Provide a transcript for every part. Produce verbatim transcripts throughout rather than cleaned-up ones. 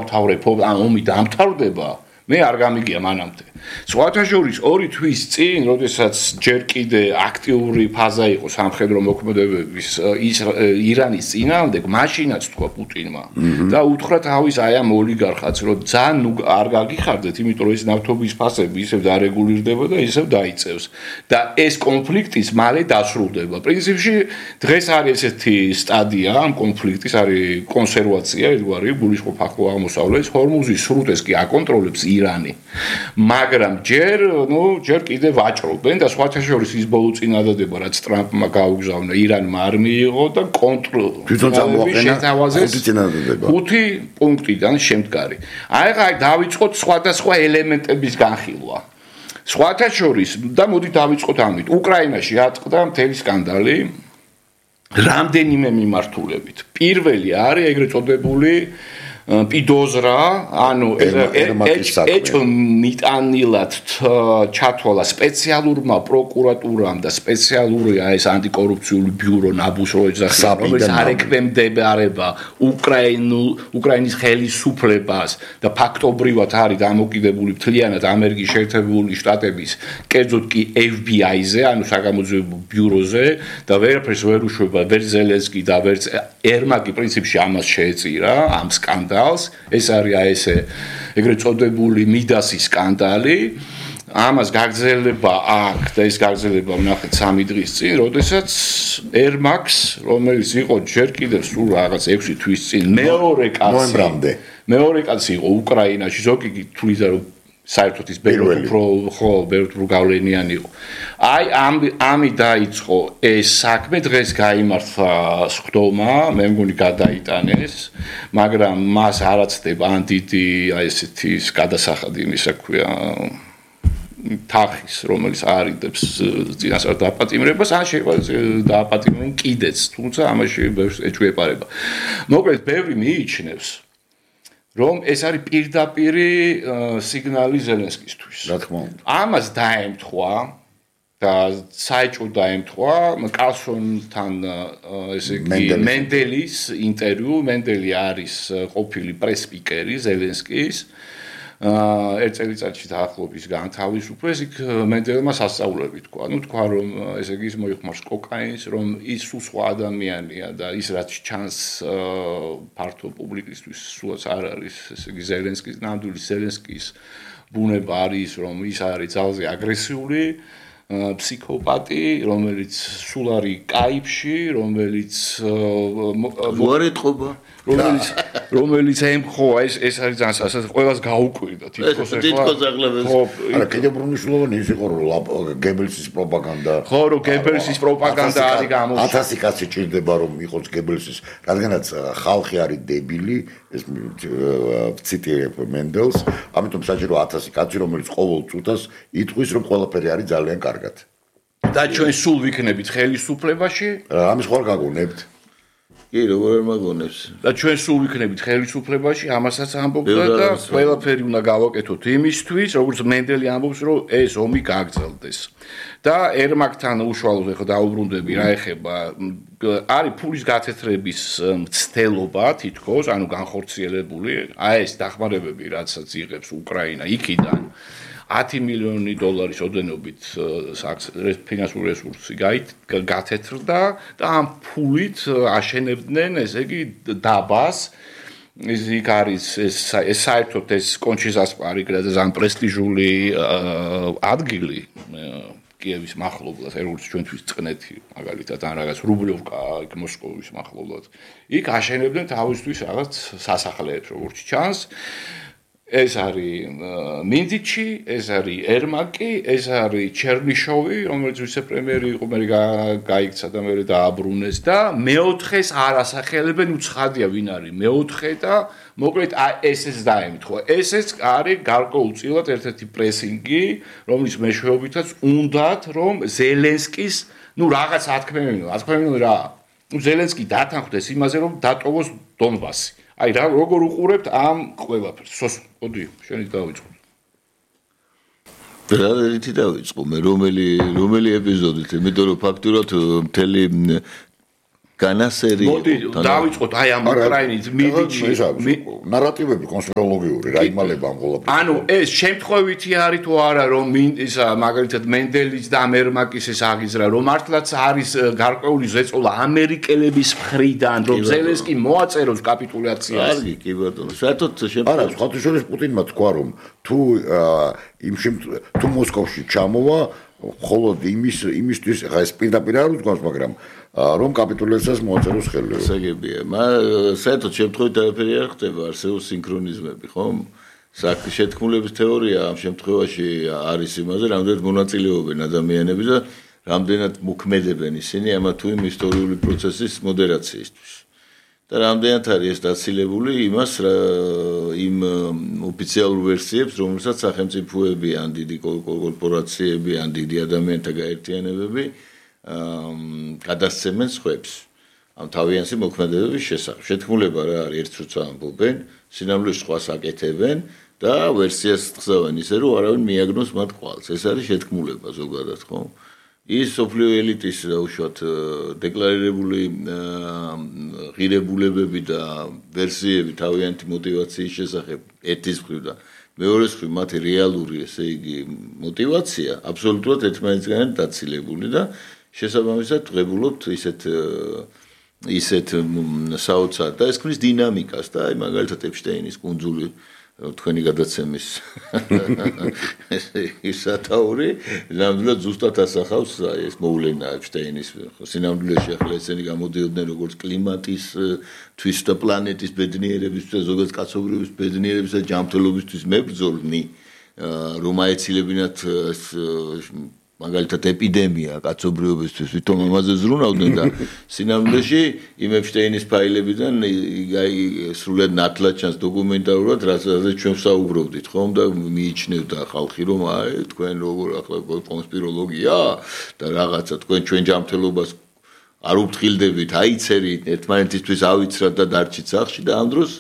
დაამთავრებო, ან ომი დაამთავრდება, მე არ გამიგია მანამდე. სხვათა შორის ორი თვის წინ, როდესაც ჯერ კიდე აქტიური ფაზა იყო სამხედრო მოქმედებების ირანის წინააღმდეგ, მაშინაც თქვა პუტინმა და უთხრა თავის აი ამ ოლიგარხებს, რომ ძალიან არ გაგიხარდეთ, იმიტომ რომ ეს ნავთობის ფასები ისევ დარეგულირდება და ისევ დაიწევს და ეს კონფლიქტის მალე დასრულდება. პრინციპში დღეს არის ესეთი სტადია ამ კონფლიქტის, არის კონსერვაცია, ერთგვარი გულისხმობ ახლო აღმოსავლეთს, ჰორმუზის სრუტეს კი აკონტროლებს ირანი. მაგრამ ჯერ, ნუ, ჯერ კიდე ვაჭრობენ და სხვათა შორის ის ბოლო წინადადება, რაც ტრამპმა გაუგზავნა, ირანმა არ მიიღო და კონტროლი თვითონ წამოაყენა ხუთი წინადადება. ხუთი პუნქტიდან შემდგარი. აი ხა დავიწყოთ სხვადასხვა ელემენტების განხილვა. სხვათა შორის და მოდი დავიწყოთ ამით. უკრაინაში ატყდა მთელი სკანდალი რამდენიმე მიმართულებით. პირველი არის ეგრეთ წოდებული პიდოზრა, ანუ ეჭ მიტანილად ჩათვალა სპეციალურმა პროკურატურამ და სპეციალური ეს ანტიკორუფციული ბიურო ნაბუს რო ეძახა, რომელიც არ ეკვემდებარება უკრაინულ უკრაინის ხელისუფლებას და ფაქტობრივად არის დამოკიდებული მთლიანად ამერიკის შეერთებული შტატების, კერძოდ კი ეფ ბი აი-ზე, ანუ საგამოძიებო ბიუროზე და ვერაფერს ვერ უშვება ვერ ზელენსკი და ვერ ერმაკი პრინციპში ამას შეეწირა, ამ სკანდალს. ეს არის აი ესე ეგრეთ წოდებული მიდასის სკანდალი. ამას გაგრძელება აქვს და ეს გაგრძელება ვნახეთ სამი დღის წინ, როდესაც ერმაკს, რომელიც იყო ჯერ კიდევ სულ რაღაც ექვსი თვის წინ მეორე კაცი ნოემბრამდე. მეორე კაცი იყო უკრაინაში, ზოგი თვლიდა რომ საერთოდ ის ბევრი უფრო ხო, ბევრი უფრო გავლენიანი იყო. აი ამ ამი დაიწყო ეს საქმე, დღეს გაიმართა სხდომა, მე მგონი გადაიტანეს, მაგრამ მას არ აცდება ან დიდი აი ესეთი გადასახადი, იმისა ქვია თახის, რომელიც არიდებს წინასწარ დაპატიმრებას, ან შეიძლება დააპატიმრონ კიდეც, თუმცა ამაში ბევრს ეჭვეპარება. მოკლედ, ბევრი მიიჩნევს რომ ეს არის პირდაპირი სიგნალი ზელენსკისთვის. რა თქმა უნდა. ამას დაემთხვა და საეჭვო დაემთხვა კალსონთან ესე იგი მენდელის ინტერვიუ. მენდელი არის ყოფილი პრეს-სპიკერი ზელენსკის. ერთ წელიწადში დაახლოებით განთავისუფლეს, იქ მენდელმა სასწაულები თქვა. ნუ თქვა რომ ესე იგი ის მოიხმარს კოკაინს, რომ ის სულ სხვა ადამიანია და ის რაც ჩანს ფართო პუბლიკისთვის სულაც არ არის ესე იგი ზელენსკის, ნამდვილი ზელენსკის ბუნება არის, რომ ის არის ძალზე აგრესიული ფსიქოპატი, რომელიც სულ არის კაიფში, რომელიც უარეთყობა რომელიც რომელიც ემხოა ეს ეს არის ძალიან სასაცილო ყველას გაუკვირდა თითქოს თითქოს აღლებელს არა კიდევ ბრუნიშლოვანი ის იყო რომ გებელსის პროპაგანდა ხო რომ გებელსის პროპაგანდა არის გამოჩნდა ათასი კაცი ჭირდება რომ იყოს გებელსის რადგანაც ხალხი არის დებილი ეს ციტირებ მენდელს ამიტომ საჭირო ათასი კაცი რომელიც ყოველ წუთას იტყვის რომ ყველაფერი არის ძალიან კარგად და ჩვენ სულ ვიქნებით ხელისუფლებაში ამის ხوار გაგონებთ კი როგორ არ მაგონებს და ჩვენ სულ ვიქნებით ხელისუფლებაში ამასაც ამბობდა და ყველაფერი უნდა გავაკეთოთ იმისთვის როგორც მენდელი ამბობს რომ ეს ომი გაგრძელდეს და ერმაკთან უშუალოდ ახლა დაუბრუნდები რა ეხება არის ფულის გათეთრების მცდელობა თითქოს ანუ განხორციელებული აი ეს დახმარებები რაცაც იღებს უკრაინა იქიდან ათი მილიონი დოლარის ოდენობით ფინანსური რესურსი გათეთრდა და ამ ფულით აშენებდნენ ესე იგი დაბას ეს იქ არის ეს საერთოდ ეს კონჩიზასპარი ძალიან პრესტიჟული ადგილი კიევის მახლობლად როგორც ჩვენთვის წყნეთი მაგალითად ან რაღაც რუბლიოვკა იქ მოსკოვის მახლობლად იქ აშენებდნენ თავისთვის რაღაც სასახლეებს როგორც ჩანს ეს არის მინდიჩი, ეს არის ერმაკი, ეს არის ჩერნიშოვი, რომელიც ვიცე-პრემიერი იყო, მე გაიქცა და მე დააბრუნეს და მეოთხეს არ ასახელებენ, უცხადია ვინ არის მეოთხე და მოკლედ ესეც დაემთხვა. ესეც არის გარკვეულწილად ერთ-ერთი პრესინგი, რომლის მეშვეობითაც უნდათ რომ ზელენსკის, ნუ რაღაც ათქმევინო, ათქმევინო რა. ნუ ზელენსკი დათანხმდეს იმაზე რომ დატოვოს დონბასი. აი რა როგორ უყურებთ ამ ყველაფერს? სოს, მოდი, შენი დავიწყო. რა ერთი დავიწყო მე რომელი რომელი ეპიზოდით, იმიტომ რომ ფაქტურად მთელი განასერი მოდი დავიწყოთ აი ამ უკრაინის მიდიჩი ნარატივები კონსპიროლოგიური რა იმალება ამ ყველაფერს ანუ ეს შემთხვევითი არის თუ არა რომ ისა მაგალითად მენდელის და ამერმაკის ეს აღიზრა რომ მართლაც არის გარკვეული ზეწოლა ამერიკელების მხრიდან რომ ზელენსკი მოაწეროს კაპიტულაციას კარგი კი ბატონო საერთოდ შემთხვევით არა სხვათა შორის პუტინმა თქვა რომ თუ იმ თუ მოსკოვში ჩამოვა მხოლოდ იმის იმისთვის ხა ეს პირდაპირ არ უძღვას მაგრამ რომ კაპიტულაციას მოაწეროს ხელი. საგებია. საერთოდ შემთხვევით არაფერი არ ხდება, არსებობს სინქრონიზმები, ხო? საქმე შეთქმულების თეორია ამ შემთხვევაში არის იმაზე, რამდენად მონაწილეობენ ადამიანები და რამდენად მოქმედებენ ისინი ამა თუ იმ ისტორიული პროცესის მოდერაციისთვის. და რამდენად არის ეს დაცილებული იმას იმ ოფიციალურ ვერსიებს, რომელსაც სახელმწიფოები ან დიდი კორპორაციები ან დიდი ადამიანთა გაერთიანებები გადასცემენ სხვებს ამ თავიანთი მოქმედებების შესახებ. შეთქმულება რა არის ერთ როცა ამბობენ, სინამდვილეში სხვას აკეთებენ და ვერსიას ხსავენ ისე რომ არავინ მიაგნოს მათ ყვალს. ეს არის შეთქმულება ზოგადად, ხო? ის სოფლიო ელიტის უშუალოდ დეკლარირებული ღირებულებები და ვერსიები თავიანთი мотиваციის შესახებ ერთის მხრივ და მეორეს მხრივ მათი რეალური, ესე იგი, мотиваცია აბსოლუტურად ერთმანეთისგან დაცილებული და შესაბამისად ღებულობთ ისეთ ისეთ საოცარ და ეს ქმნის დინამიკას და აი მაგალითად ეპშტეინის კუნძული თქვენი გადაცემის ის სათაური ნამდვილად ზუსტად ასახავს აი ეს მოვლენა ეპშტეინის სინამდვილეში ახლა ესენი გამოდიოდნენ როგორც კლიმატის თვის და პლანეტის ბედნიერების და ზოგადად კაცობრიობის ბედნიერების და ჯანმრთელობისთვის მებრძოლნი რომ აეცილებინათ მაგალითად ეპიდემია კაცობრიობისთვის ვითომ ამაზე ზრუნავდნენ და სინამდვილეში იმ ეპშტეინის ფაილებიდან აი სრულად ნათლად ჩანს დოკუმენტალურად რასაც ჩვენ ვსაუბრობდით ხომ და მიიჩნევდა ხალხი რომ აი თქვენ როგორ ახლა კონსპიროლოგია და რაღაცა თქვენ ჩვენ ჯანმრთელობას არ უფრთხილდებით აიცერით ერთმანეთისთვის ავიცრათ და დარჩით სახლში და ამ დროს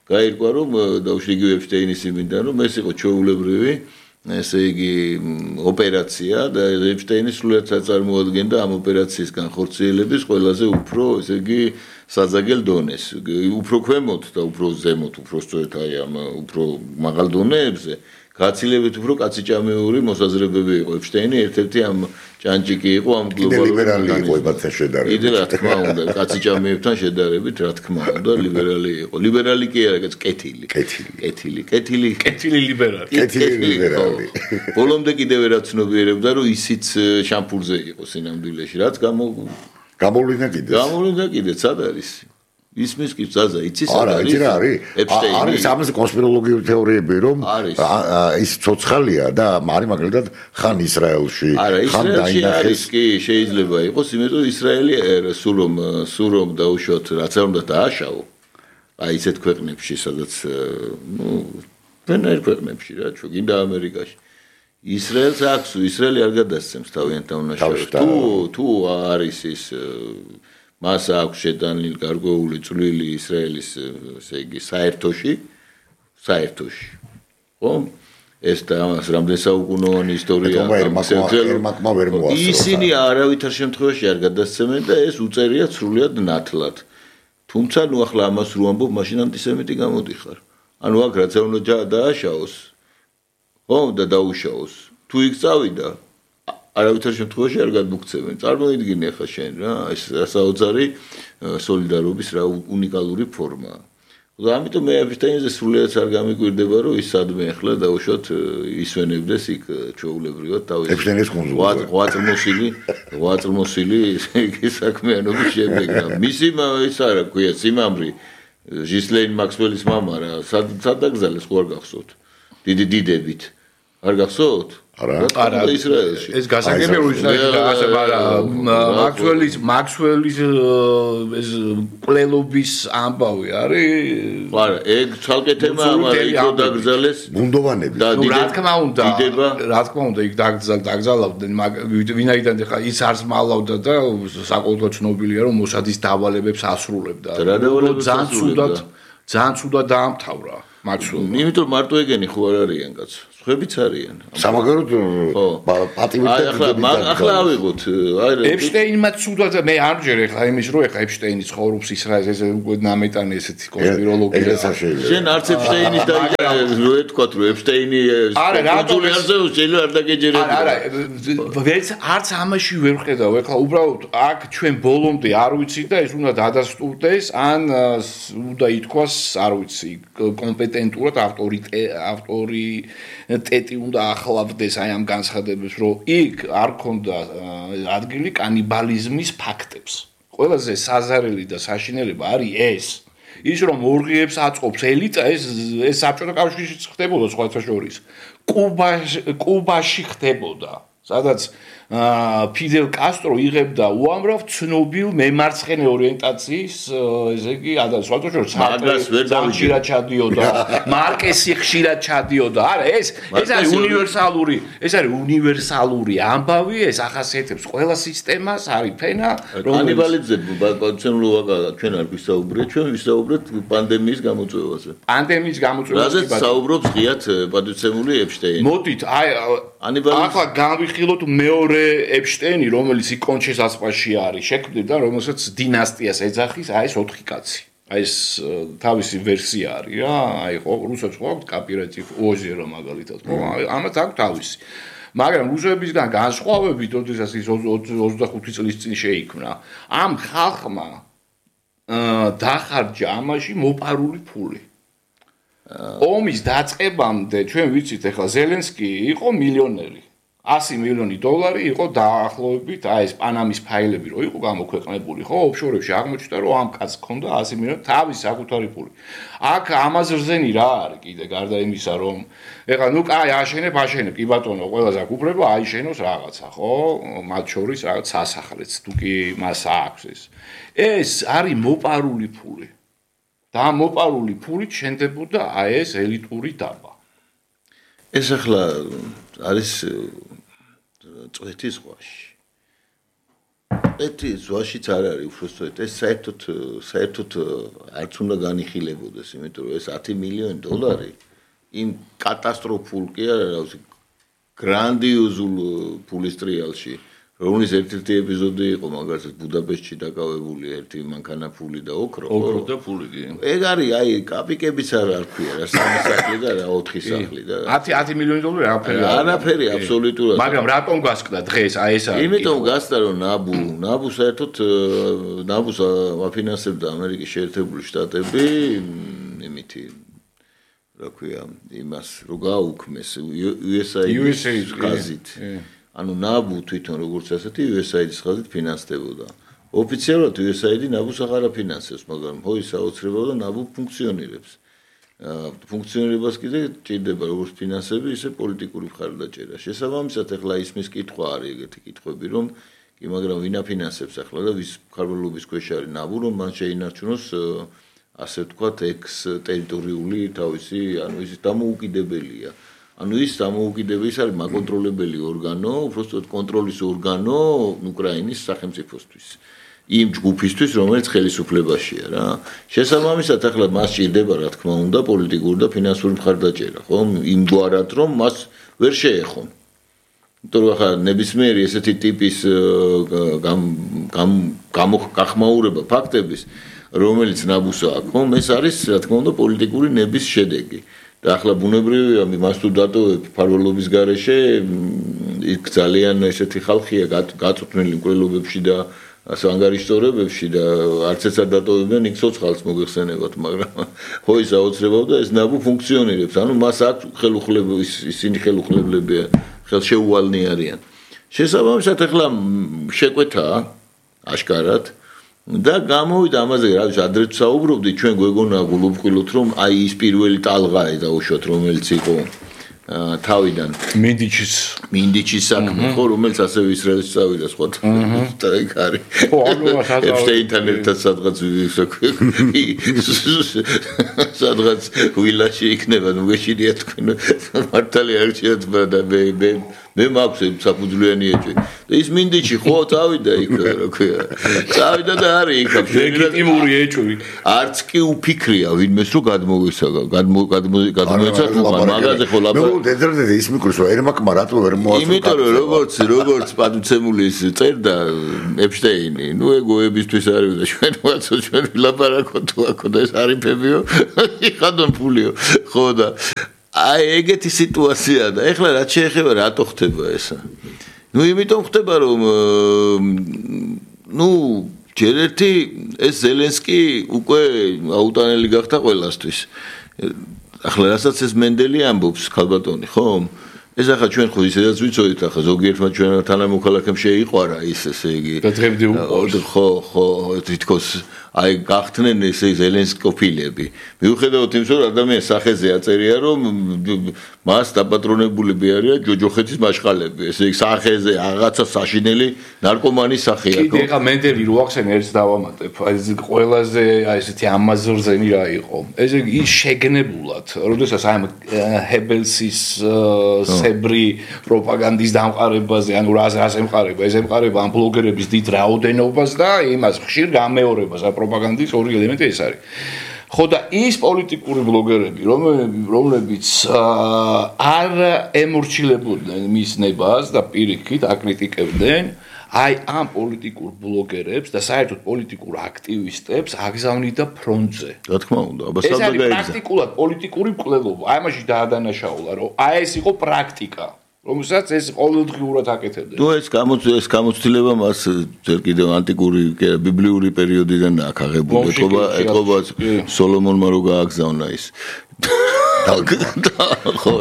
გაირკვა რომ დაუშვიგივ ეპშტეინის იმიდან რომ ეს იყო ჩვეულებრივი ესე იგი ოპერაცია და ეპშტეინი სრულად წარმოადგენდა ამ ოპერაციის განხორციელების ყველაზე უფრო ესე იგი საძაგელ დონეს უფრო ქვემოთ და უფრო ზემოთ უფრო სწორედ აი ამ უფრო მაღალ დონეებზე გაცილებით უფრო კაციჭამეური მოსაზრებები იყო ეპშტეინი ერთ-ერთი ამ ჭანჭიკი იყო ამ გლობალურ ლიბერალი იყოებათან შედარებით კიდე რა თქმა უნდა კაციჭამეებთან შედარებით რა თქმა უნდა ლიბერალი იყო ლიბერალი კი არა კეთილი კეთილი კეთილი კეთილი კეთილი ლიბერალი კეთილი ლიბერალი ბოლომდე კიდევ რა ცნობიერებდა რომ ისიც შამპურზე იყო სინამდვილეში რაც გამო გამოვლინდა კიდე გამოვლინდა კიდე სად არის ისმის კი ზაზა იცის არა იცი რა არის არის ამაზე კონსპიროლოგიური თეორიები რომ ის ცოცხალია და არის მაგალითად ხან ისრაელში ხან დაინახეს კი შეიძლება იყოს იმიტომ ისრაელი სულ რომ სულ რომ დაუშვათ რაც არ უნდა დააშავო აი ისეთ ქვეყნებში სადაც ნუ ვენერ ქვეყნებში რა ჩვენ გინდა ამერიკაში ისრაელს აქვს ისრაელი არ გადასცემს თავიანთ დაუნაშავებას თუ თუ არის ის მას აქვს შეტანილი გარკვეული წვლილი ისრაელის ესე იგი საერთოში საერთოში ხო ეს და ამას რამდენ საუკუნოვანი ისტორია ისინი არავითარ შემთხვევაში არ გადასცემენ და ეს უწერია სრულად ნათლად თუმცა ნუ ახლა ამას რო ამბობ მაშინ ანტისემიტი გამოდიხარ ანუ აქ რაც უნდა დააშაოს ხო და დაუშაოს თუ იქ წავიდა არავითარ შემთხვევაში არ გადმოგცემენ. წარმოიდგინე ხა შენ რა, ეს საოცარი სოლიდარობის რა უნიკალური ფორმაა. და ამიტომ მე ეპშტეინზე სრულიად არ გამიკვირდება რომ ის სადმე ახლა დაუშვათ ისვენებდეს იქ ჩვეულებრივად თავის ეპშტეინის კუნძულზე. ღვაწლმოსილი, ღვაწლმოსილი იგი საქმიანობის შემდეგ რა. მისი ის არა ქვია სიმამრი ჟისლეინ მაქსველის მამა რა, სად დაგზავნეს ხო არ გახსოვთ? დიდი დიდებით. არ გახსოვთ? არა არა ისრაელში ეს გასაგებია ისრაელში ასე არა მაქსველის მაქსველის ეს კვლელობის ამბავი არის არა ეგ ცალკე თემა მაგრამ იქ დაგზალეს ბუნდოვანები ნუ რა თქმა უნდა რა თქმა უნდა იქ დაგზალავდნენ ვინაიდან ხა ის არს მალავდა და საკოლტო ცნობილია რომ მოსადის დავალებებს ასრულებდა ძალიან ძალიან ცუდად ძალიან ცუდად დაამთავრა მაცულ. იმიტომ მარტო ეგენი ხო არ არიან კაცო. ხებიც არიან. სამაგეროდ პატიმრთა ახლა ახლა ავიღოთ. ეპშტეინმა ცუდად მე არ ჯერ ეხლა იმის რო ეხლა ეპშტეინი ცხოვრობს ისრაელს ეს უკვე ნამეტანი ესეთი კონსპიროლოგია. შენ არც ეპშტეინის და რო ეთქვათ რომ ეპშტეინი არა რატომ არ ზეოს შეიძლება არ დაგეჯერებია. არა ვერც არც ამაში ვერ ხედავ ეხლა უბრალოდ აქ ჩვენ ბოლომდე არ ვიცი და ეს უნდა დადასტურდეს ან უნდა ითქვას არ ვიცი კომპეტენტურად ავტორიტეტი ავტორი ტეტი უნდა ახლავდეს აი ამ განცხადებას, რომ იქ არ ქონდა ადგილი კანიბალიზმის ფაქტებს. ყველაზე საზარელი და საშინელება არის ეს. ის რომ ორგიებს აწყობს ელიტა, ეს ეს საბჭოთა კავშირშიც ხდებოდა სხვათა შორის. კუბაში კუბაში ხდებოდა, სადაც ფიდელ კასტრო იღებდა უამრავ ცნობილ მემარცხენე ორიენტაციის, ესე იგი, ადას სხვათა შორის ხშირად ჩადიოდა, მარკესი ხშირად ჩადიოდა. არა, ეს ეს არის უნივერსალური, ეს არის უნივერსალური ამბავი, ეს ახასიათებს ყველა სისტემას, არის ფენა, კანიბალიზმზე ბატონულობა ჩვენ არ ვისაუბრეთ, ჩვენ ვისაუბრეთ პანდემიის გამოწვევაზე. პანდემიის გამოწვევაზე რაზეც საუბრობს ღიად პატივცემული ეპშტეინი. მოდით, აი ახლა განვიხილოთ მეორე ეპშტეინი, რომელიც იკონჩეს ასპაში არის, შექმნიდა, რომელსაც დინასტიას ეძახის, აი ეს ოთხი კაცი. აი ეს თავისი ვერსია არის რა, აი ხო, რუსებს ხო აქვს კოპირატივ ოჟერო მაგალითად, ხო, ამათ აქვს თავისი. მაგრამ რუსებისგან განსხვავებით, როდესაც ის ოცდახუთი წლის წინ შეიქმნა, ამ ხალხმა დახარჯა ამაში მოპარული ფული. ომის დაწყებამდე ჩვენ ვიცით, ეხლა ზელენსკი იყო მილიონერი. ასი მილიონი დოლარი იყო დაახლოებით, აი ეს პანამის ფაილები რო იყო გამოქვეყნებული, ხო, ოფშორებში აღმოჩნდა, რომ ამ კაცს ჰქონდა ასი მილიონი თავის საკუთარი ფული. აქ ამაზე რძენი რა არის კიდე გარდა იმისა, რომ ეხლა ნუ კაი აშენებ, აშენებ, კი ბატონო, ყველას აქვს უფლება აიშენოს რაღაცა, ხო? მათ შორის რაღაც სასახლეც, თუ კი მას აქვს ეს. ეს არის მოპარული ფული. და მოპარული ფულით შენდებოდა აი ეს ელიტური დაბა. ეს ახლა არის წვეთის ზღვაში. წვეთის ზღვაშიც არ არის უბრალოდ ეს საერთოდ საერთოდ არც უნდა განიხილებოდეს, იმიტომ რომ ეს ათი მილიონი დოლარი იმ კატასტროფულ კი არა, გრანდიოზულ ფულის ტრიალში, რომლის ერთ-ერთი ეპიზოდი იყო მაგალითად ბუდაპეშტში დაკავებული ერთი მანქანა ფული და ოქრო. ოქრო და ფული კი. ეგ არის აი კაპიკებიც არ არქვია რა, სამი სახლი და რა ოთხი სახლი და ათი მილიონი დოლარი არაფერი. არაფერი აბსოლუტურად. მაგრამ რატომ გასკდა დღეს აი ეს არის? იმიტომ გასკდა რომ ნაბუ, ნაბუ საერთოდ ნაბუს აფინანსებდა ამერიკის შეერთებული შტატები, იმითი რა ქვია, იმას რო გააუქმეს იუ ეს აი-ის ხაზით. ანუ ნაბუ თვითონ როგორც ასეთი იუ ეს აი-ის ხაზით ფინანსდებოდა. ოფიციალურად იუ ეს აი-ი ნაბუს აღარ აფინანსებს, მაგრამ ხო ის აუცილებლად ნაბუ ფუნქციონირებს. ფუნქციონირებას კიდე ჭირდება როგორც ფინანსები, ისე პოლიტიკური მხარდაჭერა. შესაბამისად, ახლა ისმის კითხვა არის ეგეთი კითხვები, რომ კი, მაგრამ ვინ აფინანსებს ახლა და ვის მფარველობის ქვეშ არის ნაბუ, რომ მან შეინარჩუნოს ასე ვთქვათ, ექს ტერიტორიული თავისი, ანუ ის დამოუკიდებელია. ანუ ის დამოუკიდებელი არის მაკონტროლებელი ორგანო, უბრალოდ კონტროლის ორგანო უკრაინის სახელმწიფოსთვის. იმ ჯგუფისთვის, რომელიც ხელისუფლებაშია რა. შესაბამისად, ახლა მას ჭირდება, რა თქმა უნდა, პოლიტიკური და ფინანსური მხარდაჭერა, ხო? იმგვარად, რომ მას ვერ შეეხო. იმიტომ რომ ახლა ნებისმიერი ესეთი ტიპის გახმაურება ფაქტების, რომელიც ნაბუს აქვს, ხო, ეს არის, რა თქმა უნდა, პოლიტიკური ნების შედეგი. და ახლა ბუნებრივია მას თუ დატოვებ ფარველობის გარეშე იქ ძალიან ესეთი ხალხია გაწუთმელი მკვლელობებში და ანგარიშტორებებში და არც ეს არ დატოვებენ იქ ცოცხალს მოგეხსენებათ, მაგრამ ხო ის აუცილებლად და ეს ნაბუ ფუნქციონირებს, ანუ მას აქვს ხელუხლებლები, ისინი ხელუხლებლებია, ხელშეუვალნი არიან. შესაბამისად ახლა შეკვეთაა აშკარად და გამოვიდა ამაზე, რა ვიცი, ადრე საუბრობდი, ჩვენ გვეგონა გულუბყვილოთ, რომ აი ის პირველი ტალღაა დაუშვათ, რომელიც იყო თავიდან მინდიჩის მინდიჩის საქმე, ხო, რომელიც ასევე ისრაელში წავიდა სხვათა. და იქ არის. ხო, ანუ ეფშტეინთან ერთად სადღაც სადღაც ვილაში იქნება, ნუ გეშინია თქვენ მართალი არ შეეცბა და მე მე მე მაქვს საფუძვლიანი ეჭვი. ის მინდიჩი ხო წავიდა იქ რა ქვია. წავიდა და არის იქ ლეგიტიმური ეჭვი. არც კი უფიქრია ვინმეს რომ გადმოვისაგა, გადმოეცა თუ მაგაზე ხო ლაპარაკი. ნუ დედრდე ის მიკროს რომ ერმაკმა რატო ვერ მოასწრო. იმიტომ რომ როგორც როგორც პატუცემულის წერდა ეპშტეინი, ნუ ეგოებისთვის არის და ჩვენ ვაცო ჩვენ ვილაპარაკო თუ აქ და ეს არიფებიო. იხადონ ფულიო. ხო და აი ეგეთი სიტუაცია და ეხლა რაც შეეხება რატო ხდება ესა? ნუ იმიტომ ხდება რომ ნუ ჯერ ერთი ეს ზელენსკი უკვე აუტანელი გახდა ყველასთვის. ახლა რასაც ეს მენდელი ამბობს ქალბატონი, ხო? ეს ახლა ჩვენ ხო ისედაც ვიცოდით ახლა ზოგიერთმა ჩვენ თანამოქალაქემ შეიყვარა ის ესე იგი. და დღემდე უყურს. ხო, ხო, თითქოს აი გახდნენ ეს ზელენსკოფილები. მიუხედავად იმისა, რომ ადამიანის სახეზე აწერია, რომ მას დაპატრონებულები არიან ჯოჯოხეთის მაშყალები. ესე იგი სახეზე რაღაცა საშინელი ნარკომანის სახეა. კიდე ახლა მენდელი რო ახსენ ერთს დავამატებ. აი ეს ყველაზე აი ესეთი ამაზრზენი რა იყო. ეს ის შეგნებულად, როდესაც აი ჰებელსის სებრი პროპაგანდის დამყარებაზე, ანუ რა რა ემყარება, ეს ემყარება ამ ბლოგერების დიდ რაოდენობას და იმას ხშირ გამეორებას, ა პროპაგანდის ორი ელემენტი ეს არის. ხო და ის პოლიტიკური ბლოგერები, რომლებიც არ ემორჩილებოდნენ მის ნებას და პირიქით აკრიტიკებდნენ, აი ამ პოლიტიკურ ბლოგერებს და საერთოდ პოლიტიკურ აქტივისტებს აგზავნიდა ფრონტზე. რა თქმა უნდა, აბა ეს არის პრაქტიკულად პოლიტიკური მკვლელობა. აი ამაში დაადანაშაულა, რომ აი ეს იყო პრაქტიკა. რომელსაც ეს ყოველდღიურად აკეთებდნენ. ნუ ეს ეს გამოცდილება მას ძერ კიდევ ანტიკური ბიბლიური პერიოდიდან აქვს აღებული. ეთყობა ეთყობა სოლომონმა რო გააგზავნა ის. ხო,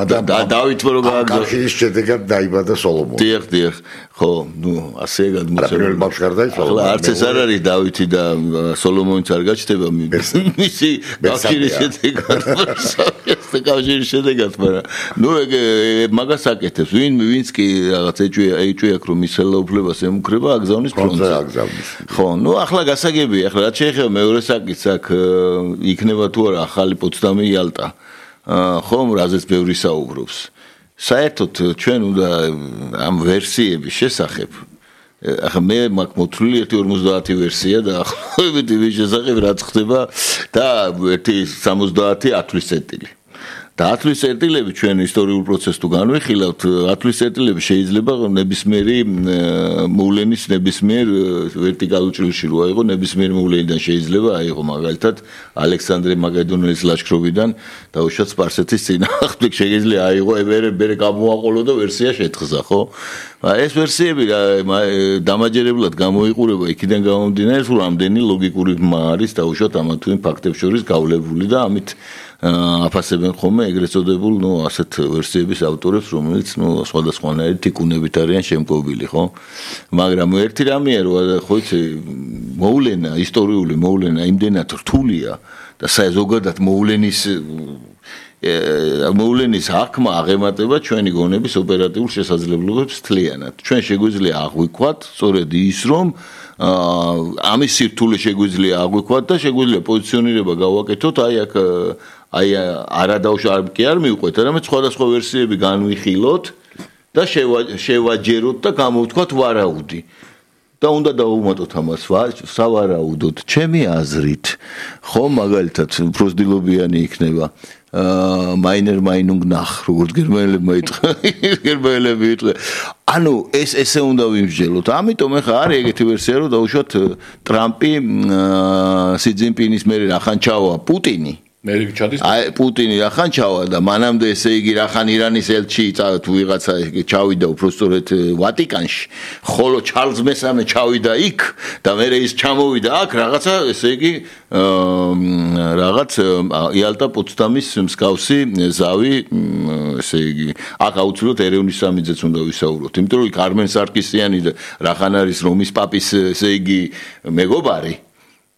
და დავითმა რო გააგზავნა. კავშირის შედეგად დაიბადა სოლომონი. დიახ, დიახ. ხო, ნუ ასე გადმოცემული. ახლა არც ეს არ არის დავითი და სოლომონიც არ გაჩნდება მისი კავშირის შედეგად. ეს კავშირის შედეგად, მაგრამ ნუ ეგ მაგას აკეთებს. ვინ ვინც კი რაღაც ეჭვი ეჭვი აქვს რომ მის ხელოვნებას ემუქრება, აგზავნის ფრონტზე აგზავნის. ხო, ნუ ახლა გასაგებია, ახლა რაც შეეხება მეორე საკითხს, აქ იქნება თუ არა ახალი პოცდამი იალტა. ხომ რაზეც ბევრი საუბრობს. საერთოდ ჩვენ უნდა ამ ვერსიების შესახებ ახლა მე მაქვს მოთვლილი ერთი ორმოცდაათი ვერსია და ახლობებით იმის შესახებ რაც ხდება და ერთი სამოცდაათი ათვლის წერტილი. და ათვლის წერტილები ჩვენ ისტორიულ პროცესს თუ განვიხილავთ, ათვლის წერტილები შეიძლება ნებისმიერი მოვლენის ნებისმიერ ვერტიკალურ ჭრილში რო აიღო, ნებისმიერ მოვლენიდან შეიძლება აიღო მაგალითად ალექსანდრე მაკედონელის ლაშქრობიდან დაუშვათ სპარსეთის წინააღმდეგ შეიძლება აიღო ებერე ბერე გამოაყოლო და ვერსია შეთხზა, ხო? ეს ვერსიები დამაჯერებლად გამოიყურება იქიდან გამომდინარე, თუ რამდენი ლოგიკური ბმა არის დაუშვათ ამა თუ იმ ფაქტებს შორის გავლებული და ამით აფასებენ ხოლმე ეგრეთ წოდებულ, ნუ ასეთ ვერსიების ავტორებს, რომელიც ნუ სხვადასხვანაირი თიკუნებით არიან შემკობილი, ხო? მაგრამ ერთი რამეა, რომ ხო იცი, მოვლენა, ისტორიული მოვლენა იმდენად რთულია და ზოგადად მოვლენის მოვლენის აღქმა აღემატება ჩვენი გონების ოპერატიულ შესაძლებლობებს თლიანად. ჩვენ შეგვიძლია აღვიქვათ, სწორედ ის, რომ ამის სირთულე შეგვიძლია აღვიქვათ და შეგვიძლია პოზიციონირება გავაკეთოთ, აი აქ აი არადაუშ არ კი არ მივყვეთ, არამედ სხვადასხვა ვერსიები განვიხილოთ და შევაჯეროთ და გამოვთქვათ ვარაუდი. და უნდა დავუმატოთ ამას სავარაუდოდ, ჩემი აზრით, ხო, მაგალითად, პროზდილობიანი იქნება. მაინერ მაინუნგ ნახ, როგორც გერმანელებმა იტყვა, გერმანელები იტყვა. ანუ ეს ესე უნდა ვიმსჯელოთ. ამიტომ ახლა არის ეგეთი ვერსია, რომ დაუშვათ ტრამპი სი ძინპინის მერე რახან ჩავა პუტინი. მერიგჩადის აი პუტინი რახან ჩავა და მანამდე ესე იგი რახან ირანის ელჩი თუ ვიღაცა ჩავიდა უბრალოდ ვატიკანში, ხოლო ჩარლზ მესამე ჩავიდა იქ და მერე ის ჩამოვიდა აქ რაღაცა ესე იგი რაღაც იალტა პოცდამის მსგავსი ზავი ესე იგი აქ აუცილებლად ერევნის სამიძეც უნდა ვისაუბროთ, იმიტომ რომ იქ არმენ სარკისიანი და რახან არის რომის პაპის ესე იგი მეგობარი.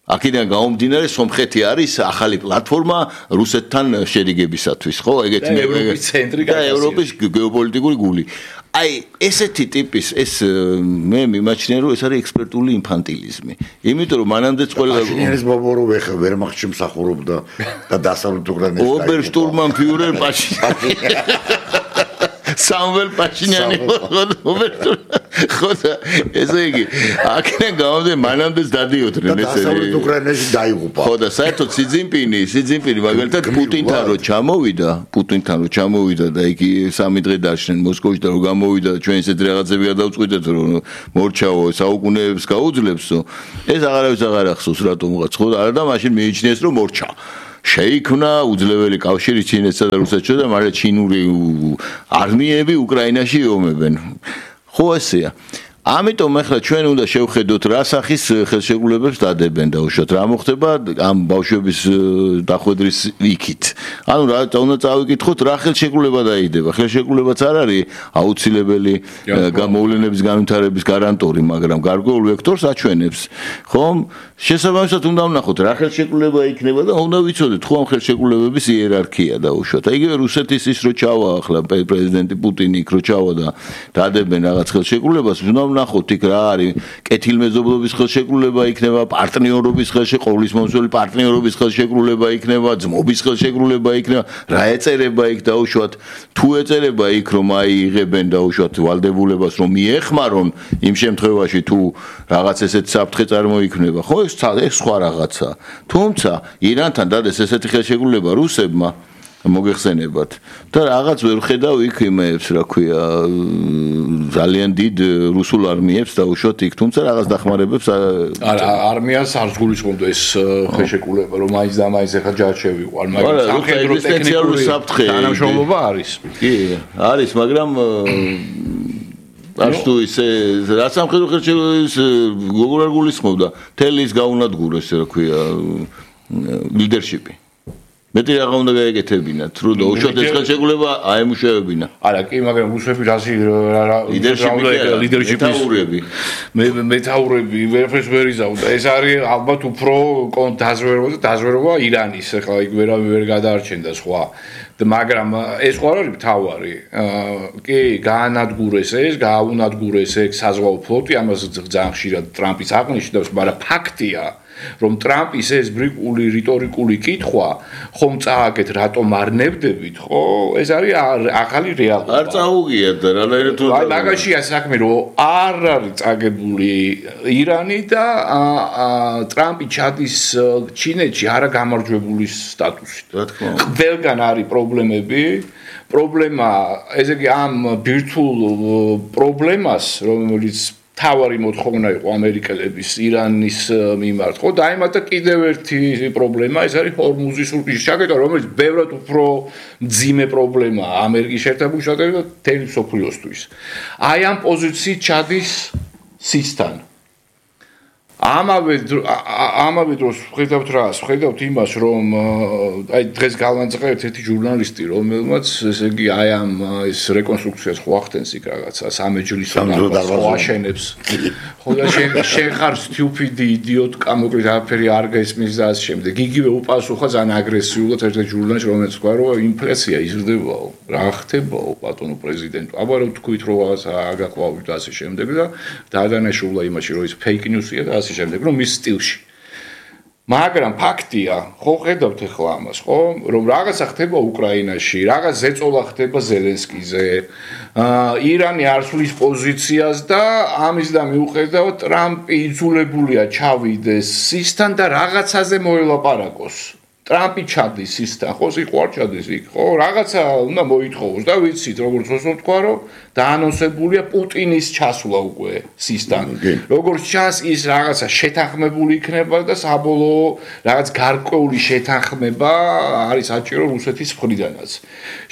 აქედან გამომდინარე სომხეთი არის ახალი პლატფორმა რუსეთთან შერიგებისათვის, ხო? ეგეთი ევროპის ცენტრი და ევროპის გეოპოლიტიკური გული. აი, ესეთი ტიპის ეს მე მიმაჩნია, რომ ეს არის ექსპერტული ინფანტილიზმი. იმიტომ რომ მანამდეც ყველა პაშინიანის ბობოროვ ეხა ვერმახტში მსახურობდა და დასავლეთ უკრაინაში ობერშტურმანფიურერ პაშინიანი სამվել პაშინიანი ხოდა ესე იგი აქედან გამომდინარე მანამდეც დადიოდნენ ესე დასავლეთ უკრაინაში დაიღუპა ხოდა საერთოდ სი ძინპინი სი ძინპინი მაგალითად პუტინთან რო ჩამოვიდა პუტინთან რო ჩამოვიდა და იგი სამი დღე დაშნენ მოსკოვში და რო გამოვიდა და ჩვენ ესეთ რაღაცები გადავწყვიტეთ რომ მორჩაო საუკუნეებს გაუძლებსო ეს აღარავის აღარ ახსოვს რატომღაც ხო არა და მაშინ მიიჩნიეს რომ მორჩა შეიქმნა უძლეველი კავშირი ჩინეთსა და რუსეთში და მაგრამ ჩინური არმიები უკრაინაში იომებენ ხო ესეა ამიტომ ახლა ჩვენ უნდა შევხედოთ რა სახის ხელშეკრულებებს დადებენ და უშოთ რა მოხდება ამ ბავშვების დახვედრის იქით ანუ რა უნდა წავიკითხოთ რა ხელშეკრულება დაიდება ხელშეკრულებაც არ არის აუცილებელი გამოვლენების განვითარების გარანტორი მაგრამ გარკვეულ ვექტორს აჩვენებს ხომ შესაბამისად უნდა ვნახოთ რა ხელშეკრულება იქნება და უნდა ვიცოდეთ ხო ამ ხელშეკრულებების იერარქია და უშოთ იგივე რუსეთის ის რო ჩავა ახლა პრეზიდენტი პუტინი იქ რო ჩავა და დადებენ რაღაც ხელშეკრულებას უნდა ვნახოთ იქ რა არის კეთილმეზობლობის ხელშეკრულება იქნება პარტნიორობის ხელშეკრულება ყოვლის მომსვლელი პარტნიორობის ხელშეკრულება იქნება ძმობის ხელშეკრულება იქნება რა ეწერება იქ დაუშვათ თუ ეწერება იქ რომ აი იღებენ დაუშვათ ვალდებულებას რომ მიეხმარონ იმ შემთხვევაში თუ რაღაც ესეთ საფრთხე წარმოიქმნება ხო ეს სხვა რაღაცა თუმცა ირანთან დადეს ესეთი ხელშეკრულება რუსებმა მოგეხსენებათ და რაღაც ვერ ხედავ იქ იმეებს რა ქვია ძალიან დიდ რუსულ არმიებს დაუშვათ იქ თუმცა რაღაც დახმარებებს არა არმიას არ გულისხმობდა ეს ხელშეკრულება რომ მაინც და მაინც ახლა ჯარშევიყვან მაგრამ სამხედრო ტექნიკური საფრთხე თანამშრომლობა არის კი არის მაგრამ აშტუ ისე რა სამხედრო ხელშეკრულების როგორ არ გულისხმობდა თელის გაუნადგურეს რა ქვია ლიდერშიპი მეტი რაღა უნდა გაეკეთებინათ რო უშოთ ეს ხელშეკრულება აემუშავებინა არა კი მაგრამ რუსები რაზი ლიდერშიპის მეთაურები მე მეთაურები ვერაფერს ვერ იზავდა ეს არის ალბათ უფრო დაზვერვა და დაზვერვა ირანის ახლა იქ ვერავინ ვერ გადაარჩენდა სხვა მაგრამ ეს ხო არ არის მთავარი კი გაანადგურეს ეს გააუნადგურეს ეს საზღვაო ფლოტი ამას ძალიან ხშირად ტრამპის აღნიშნავს მაგრამ ფაქტია რომ ტრამპის ეს ბრიკული რიტორიკული კითხვა ხომ წააგეთ რატომ არ ნებდებით ხო ეს არის ახალი რეალობა არ წაუგიათ და რანაირად აი მაგაშია საქმე რომ არ არის წაგებული ირანი და ტრამპი ჩადის ჩინეთში არა გამარჯვებული სტატუსით რა თქმა უნდა ყველგან არის პრობლემები პრობლემა ესე იგი ამ ბირთვულ პრობლემას რომელიც თავარი მოთხოვნა იყო ამერიკელების ირანის მიმართ ხო დაემატა კიდევ ერთი პრობლემა ეს არის ჰორმუზის სრუტის ჩაკეტვა რომელიც ბევრად უფრო მძიმე პრობლემაა ამერიკის შეერთებულ შტატებში და მთელი მსოფლიოსთვის აი ამ პოზიციით ჩადის სისთან ამავე ამავე დროს ხედავთ რას ხედავთ იმას რომ აი დღეს გავანწყეთ ერთი ჟურნალისტი რომელმაც ესე იგი აი ამ ეს რეკონსტრუქციას ხო ახდენს იქ რაღაცა სამეჯლისო და აშენებს ხო და შენ ხარ სტიუპიდი იდიოტკა მოკლედ არაფერი არ გესმის და ამ შემდეგ იგივე უპასუხა ძალიან აგრესიულად ერთ ჟურნალში რომელიც თქვა რომ ინფლაცია იზრდებაო რა ხდებაო ბატონო პრეზიდენტო აბა რა თქვით რომ რაღაცა აგაყვავით და ასე შემდეგ და დაადანაშულა იმაში რომ ის ფეიქ ნიუსია და შემდეგ რომ მის სტილში მაგრამ ფაქტია ხო ხედავთ ახლა ამას ხო რომ რაღაცა ხდება უკრაინაში რაღაც ზეწოლა ხდება ზელენსკიზე ირანი არ სვლის პოზიციას და ამის და მიუხედავად ტრამპი იძულებულია ჩავიდეს სისთან და რაღაცაზე მოელაპარაკოს ტრამპი ჩადის სისთან ხო სიყვარ ჩადის იქ ხო რაღაცა უნდა მოითხოვოს და ვიცით როგორც მოსულ თქვა რომ დაანონსებულია პუტინის ჩასვლა უკვე სისთან როგორც ჩანს ის რაღაცა შეთანხმებული იქნება და საბოლოო რაღაც გარკვეული შეთანხმება არის საჭირო რუსეთის მხრიდანაც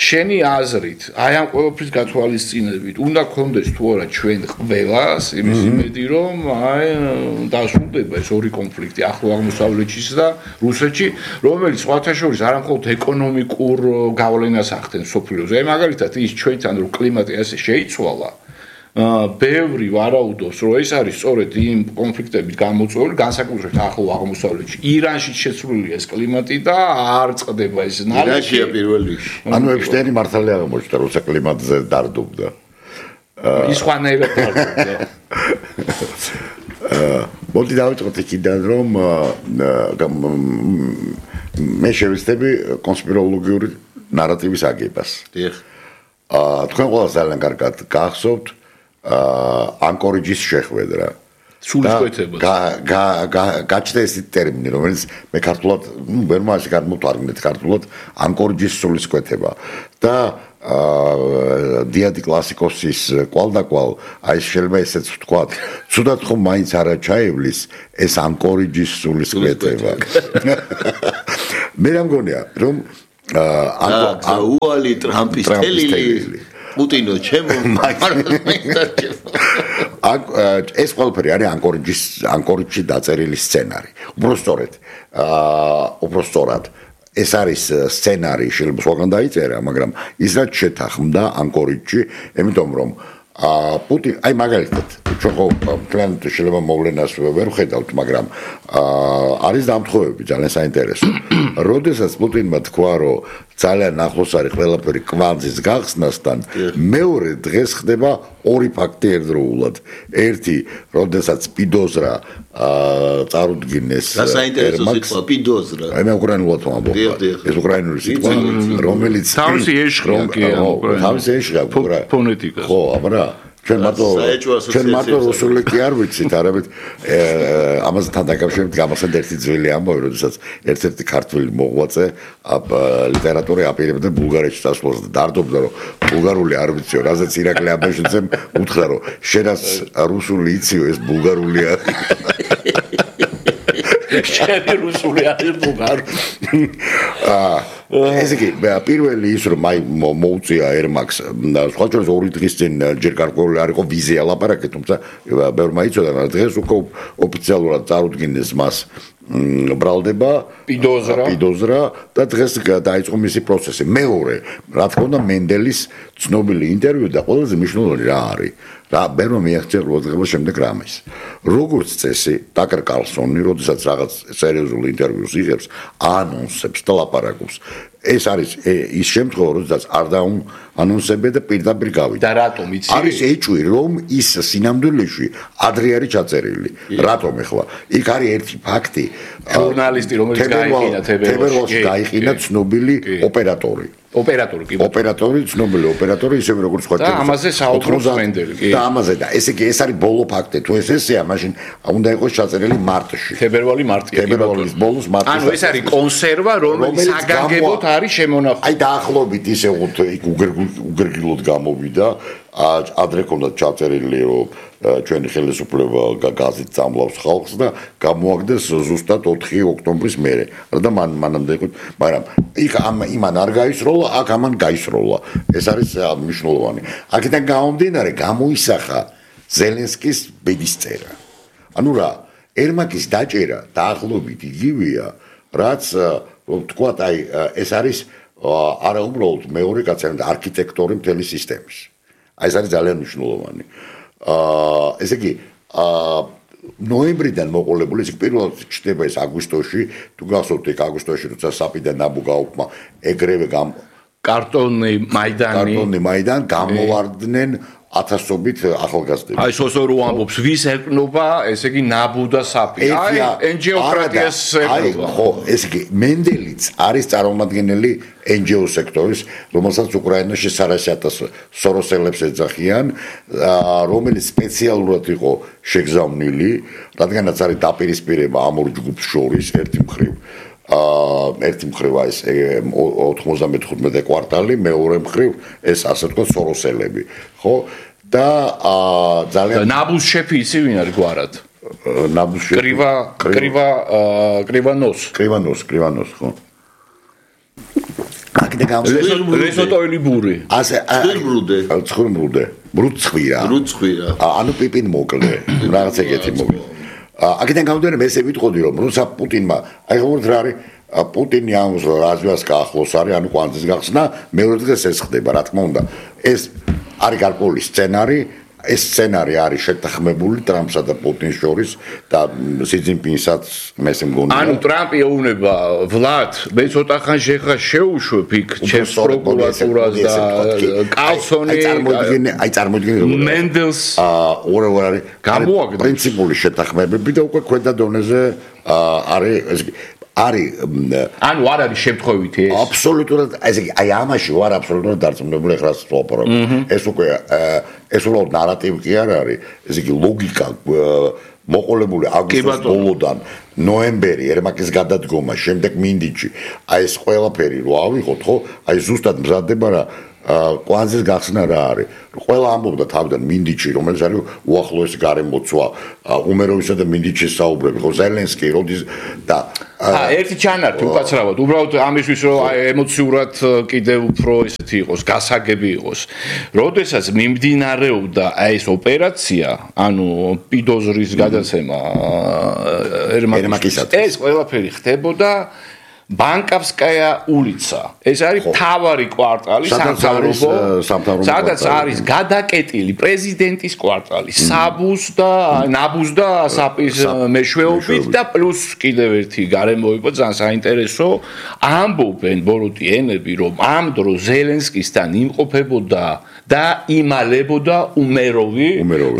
შენი აზრით აი ამ ყველაფრის გათვალისწინებით უნდა გქონდეს თუ არა ჩვენ ყველას იმის იმედი რომ აი დასრულდება ეს ორი კონფლიქტი ახლო აღმოსავლეთში და რუსეთში რომელიც სხვათა შორის არა მხოლოდ ეკონომიკურ გავლენას ახდენს სოფლიოზე აი მაგალითად ის ჩვენთან რომ კლიმატი ასე შეიცვალა ბევრი ვარაუდობს რომ ეს არის სწორედ იმ კონფლიქტებით გამოწვეული განსაკუთრებით ახლო აღმოსავლეთში ირანში შეცვლილია ეს კლიმატი და არ წყდება ეს ნალექი ირანშია პირველ რიგში ანუ ეფშტეინი მართალი აღმოჩნდა როცა კლიმატზე დარდობდა ის ხანერად დარდობდა მოდი დავიწყოთ იქიდან რომ მე შევეცდები კონსპიროლოგიური ნარატივის აგებას. დიახ. აა თქვენ ყველა ძალიან კარგად გახსოვთ აა ანკორიჯის შეხვედრა. სულისკვეთება. გაჩნდა ეს ტერმინი, რომელიც მე ქართულად, ნუ ვერ მოასი გამოვთარგმნეთ ქართულად, ანკორიჯის სულისკვეთება. და აა დიადი კლასიკოსის კვალდაკვალ, აი შეიძლება ესეც ვთქვათ, ცუდად ხომ მაინც არა ჩაივლის ეს ანკორიჯის სულისკვეთება. მე რამგონია, რომ აა უალი ტრამპის თელილი პუტინო ჩემო ეს ყველაფერი არის ანკორიჯის ანკორიჯში დაწერილი სცენარი. უბრალოდ აა უბრალოდ ეს არის სცენარი, შეიძლება სხვაგან დაიწერა, მაგრამ ის რაც შეთანხმდა ანკორიჯში, იმიტომ რომ აა პუტინ, აი მაგალითად, ჩვენ ხო თქვენ შეიძლება მოვლენას ვერ ვხედავთ, მაგრამ აა არის დამთხოვები ძალიან საინტერესო. როდესაც პუტინმა თქვა, რომ ძალიან ახლოს არის ყველაფერი კვანძის გახსნასთან, მეორე დღეს ხდება ორი ფაქტი ერთდროულად. ერთი, როდესაც პიდოზრა აა წარუდგინეს და საინტერესო სიტყვა პიდოზრა. აი მე უკრაინულად ვამბობ. ეს უკრაინული სიტყვა, რომელიც თავისი ეშხია კი ანუ თავისი ეშხია ფონეტიკა. ხო, აბა ჩვენ მარტო ჩვენ მარტო რუსული კი არ ვიცით, არამედ ამასთან დაკავშირებით გამოსცემ ერთი ძველი ამბავი, როდესაც ერთ-ერთი ქართველი მოღვაწე ლიტერატურა აპირებდა ბულგარეთში წასვლას და დარდობდა, რომ ბულგარული არ ვიციო, რაზეც ირაკლი აბაშიძემ უთხრა, რომ შენაც რუსული იციო, ეს ბულგარული არის. შენი რუსული არის ბულგარული. აა ესე იგი, პირველი ის რომ აი მოუწია ერმაკს, სხვა შორის ორი დღის წინ ჯერ გარკვეული არ იყო ვიზია ლაპარაკი, თუმცა ბევრმა იცოდა, მაგრამ დღეს უკვე ოფიციალურად წარუდგინეს მას ბრალდება პიდოზრა პიდოზრა და დღეს დაიწყო მისი პროცესი. მეორე, რა თქმა უნდა, მენდელის ცნობილი ინტერვიუ და ყველაზე მნიშვნელოვანი რა არის? რა ბევრმა მიაღწია ყურადღება შემდეგ რამეს. როგორც წესი, ტაკერ კარლსონი, როდესაც რაღაც სერიოზულ ინტერვიუს იღებს, ანონსებს და ლაპარაკობს. ეს არის ის შემთხვევა, როდესაც არ დაანონსებია და პირდაპირ გავიდა. და რატომ იცი? არის ეჭვი, რომ ის სინამდვილეში ადრე არის ჩაწერილი. რატომ ეხლა? იქ არის ერთი ფაქტი. ჟურნალისტი, რომელიც გაიყინა თებერვალში გაიყინა ცნობილი ოპერატორი. ოპერატორი კი ოპერატორი ცნობილი ოპერატორი ისევე როგორც სხვა და ამაზე საუბრობს მენდელი კი და ამაზე და ესე იგი ეს არის ბოლო ფაქტი თუ ეს ესეა მაშინ უნდა იყოს ჩაწერილი მარტში თებერვალი მარტია თებერვალის ბოლოს მარტში ანუ ეს არის კონსერვა რომელიც საგანგებოდ არის შემონახული აი დაახლოებით ისე უთ იქ უგერგილოდ გამოვიდა ადრე ქონდა ჩაწერილი რომ ჩვენი ხელისუფლება გაზით წამლავს ხალხს და გამოაგდეს ზუსტად ოთხი ოქტომბრის მერე და მან მანამდე იყო მაგრამ იქ ამ იმან არ გაისროლა აქ ამან გაისროლა ეს არის მნიშვნელოვანი აქედან გამომდინარე გამოისახა ზელენსკის ბედისწერა ანუ რა ერმაკის დაჭერა დაახლოებით იგივეა რაც თქვათ აი ეს არის არა უბრალოდ მეორე კაცი არამედ არქიტექტორი მთელი სისტემის აი ეს არის ძალიან მნიშვნელოვანი აა ესე იგი აა ნოემბრიდან მოყოლებული ეს პირველად ჩდება ეს აგვისტოში თუ გახსოვთ ეგ აგვისტოში როცა საპიდან ნაბუ გაუქმა ეგრევე გამ კარტონი მაიდანი კარტონი მაიდან გამოვარდნენ ათასობით ახალგაზრდები. აი სოსორო ამბობს ვის ეკნობა, ესე იგი ნაბუ და საპი. აი ენჯიოკრატიას ეკნობა. ხო, ესე იგი მენდელიც არის წარმომადგენელი ენჯიო სექტორის, რომელსაც უკრაინაში სარასიათას სოროსელებს ეძახიან, რომელიც სპეციალურად იყო შეგზავნილი, რადგანაც არის დაპირისპირება ამ ორ ჯგუფს შორის ერთი მხრივ. აა ერთი მხრივ ეს ოთხმოცდამეხუთმეტე კვარტალი, მეორე მხრივ ეს ასე თქვა სოროსელები, ხო? და აა ძალიან ნაბუს შეფი ისი ვინ არის გვარად? ნაბუს შეფი კრივა კრივა კრივანოს. კრივანოს, კრივანოს, ხო? აქედან გამოსვლა რესოტოილი ბური. ასე ცხირმრუდე. ცხირმრუდე. ბრუცხვირა. ბრუცხვირა. ანუ პიპინ მოკლე. რაღაც ეგეთი მოკლე. აქედან გამომდინარე მე ესე ვიტყოდი რომ როცა პუტინმა აი ხომ რა არის პუტინი ამ რაზვას გაახლოს არის ანუ კვანძის გახსნა მეორე დღეს ეს ხდება რა თქმა უნდა ეს არის გარკვეული სცენარი ეს სცენარი არის შეთანხმებული ტრამპსა და პუტინს შორის და სი ძინპინსაც მესე მგონია ანუ ტრამპი ეუბნება ვლად მე ცოტა ხან შეხა შეუშვებ იქ ჩემს პროკურატურას და კალსონი აი წარმოიდგინე აი წარმოიდგინე მენდელს აა ორ ორ არის გამოაგდეს პრინციპული შეთანხმებები და უკვე ქვედა დონეზე არის არის ანუ არ არის შემთხვევითი ეს აბსოლუტურად ესე იგი აი ამაში ვარ აბსოლუტურად დარწმუნებული ეხლა ვაპარებ ეს უკვე ეს უბრალოდ ნარატივი კი არ არის ესე იგი ლოგიკა მოყოლებული აგვისტოს ბოლოდან ნოემბერი ერმაკის გადადგომა შემდეგ მინდიჩი აი ეს ყველაფერი რო ავიღოთ ხო აი ზუსტად მზადდება რა კვანძის გახსნა რა არის ყველა ამბობდა თავიდან მინდიჩი რომელიც არის უახლოესი გარემოცვა უმეროვისა და მინდიჩის საუბრები ხო ზელენსკი როდის და ა ერთი ჩანართი უკაცრავად უბრალოდ ამისთვის რომ ემოციურად კიდევ უფრო ესეთი იყოს გასაგები იყოს როდესაც მიმდინარეობდა აი ეს ოპერაცია ანუ პიდოზრის გადაცემა ერმაკისათვის ეს ყველაფერი ხდებოდა ბანკავსკაია ულიცა ეს არის მთავარი კვარტალი სამთავრობო სადაც არის გადაკეტილი პრეზიდენტის კვარტალი საბუს და ნაბუს და ასაპის მეშვეობით და პლუს კიდევ ერთი გარემო იყო ძალიან საინტერესო ამბობენ ბოროტიენები რომ ამ დროს ზელენსკისთან იმყოფებოდა და იმალებოდა უმეროვი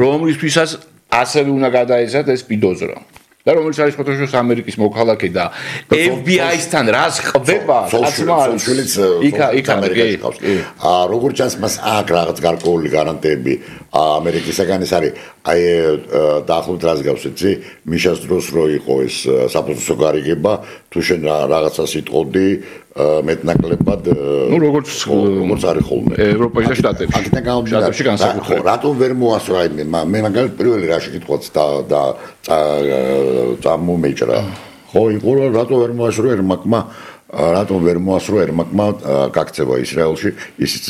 რომლისთვისაც ასევე უნდა გადაეცათ ეს პიდოზრა და რომელიც არის ფოტოშოპს ამერიკის მოქალაქე და ეფ ბი აის-თან რას ხდება კაცმა არის იქა იქ ამერიკაში ხავს აა როგორც ჩანს მას აქ რაღაც გარკვეული გარანტიები ამერიკისაგან ეს არის აი დაახლოებით რას გავს იცი მიშას დროს რო იყო ეს საფოსტო გარიგება თუ შენ რაღაცას იტყოდი მეტნაკლებად ნუ როგორც როგორც არის ხოლმე ევროპაში და შტატებში აქედან გამომდინარე განსაკუთრებით რატომ ვერ მოასწრო აი მე მაგალითად პირველი რაში კითხვაც და და წამომეჭრა ხო იყო რატომ ვერ მოასწრო ერმაკმა რატომ ვერ მოასწრო ერმაკმა გაქცევა ისრაელში ისიც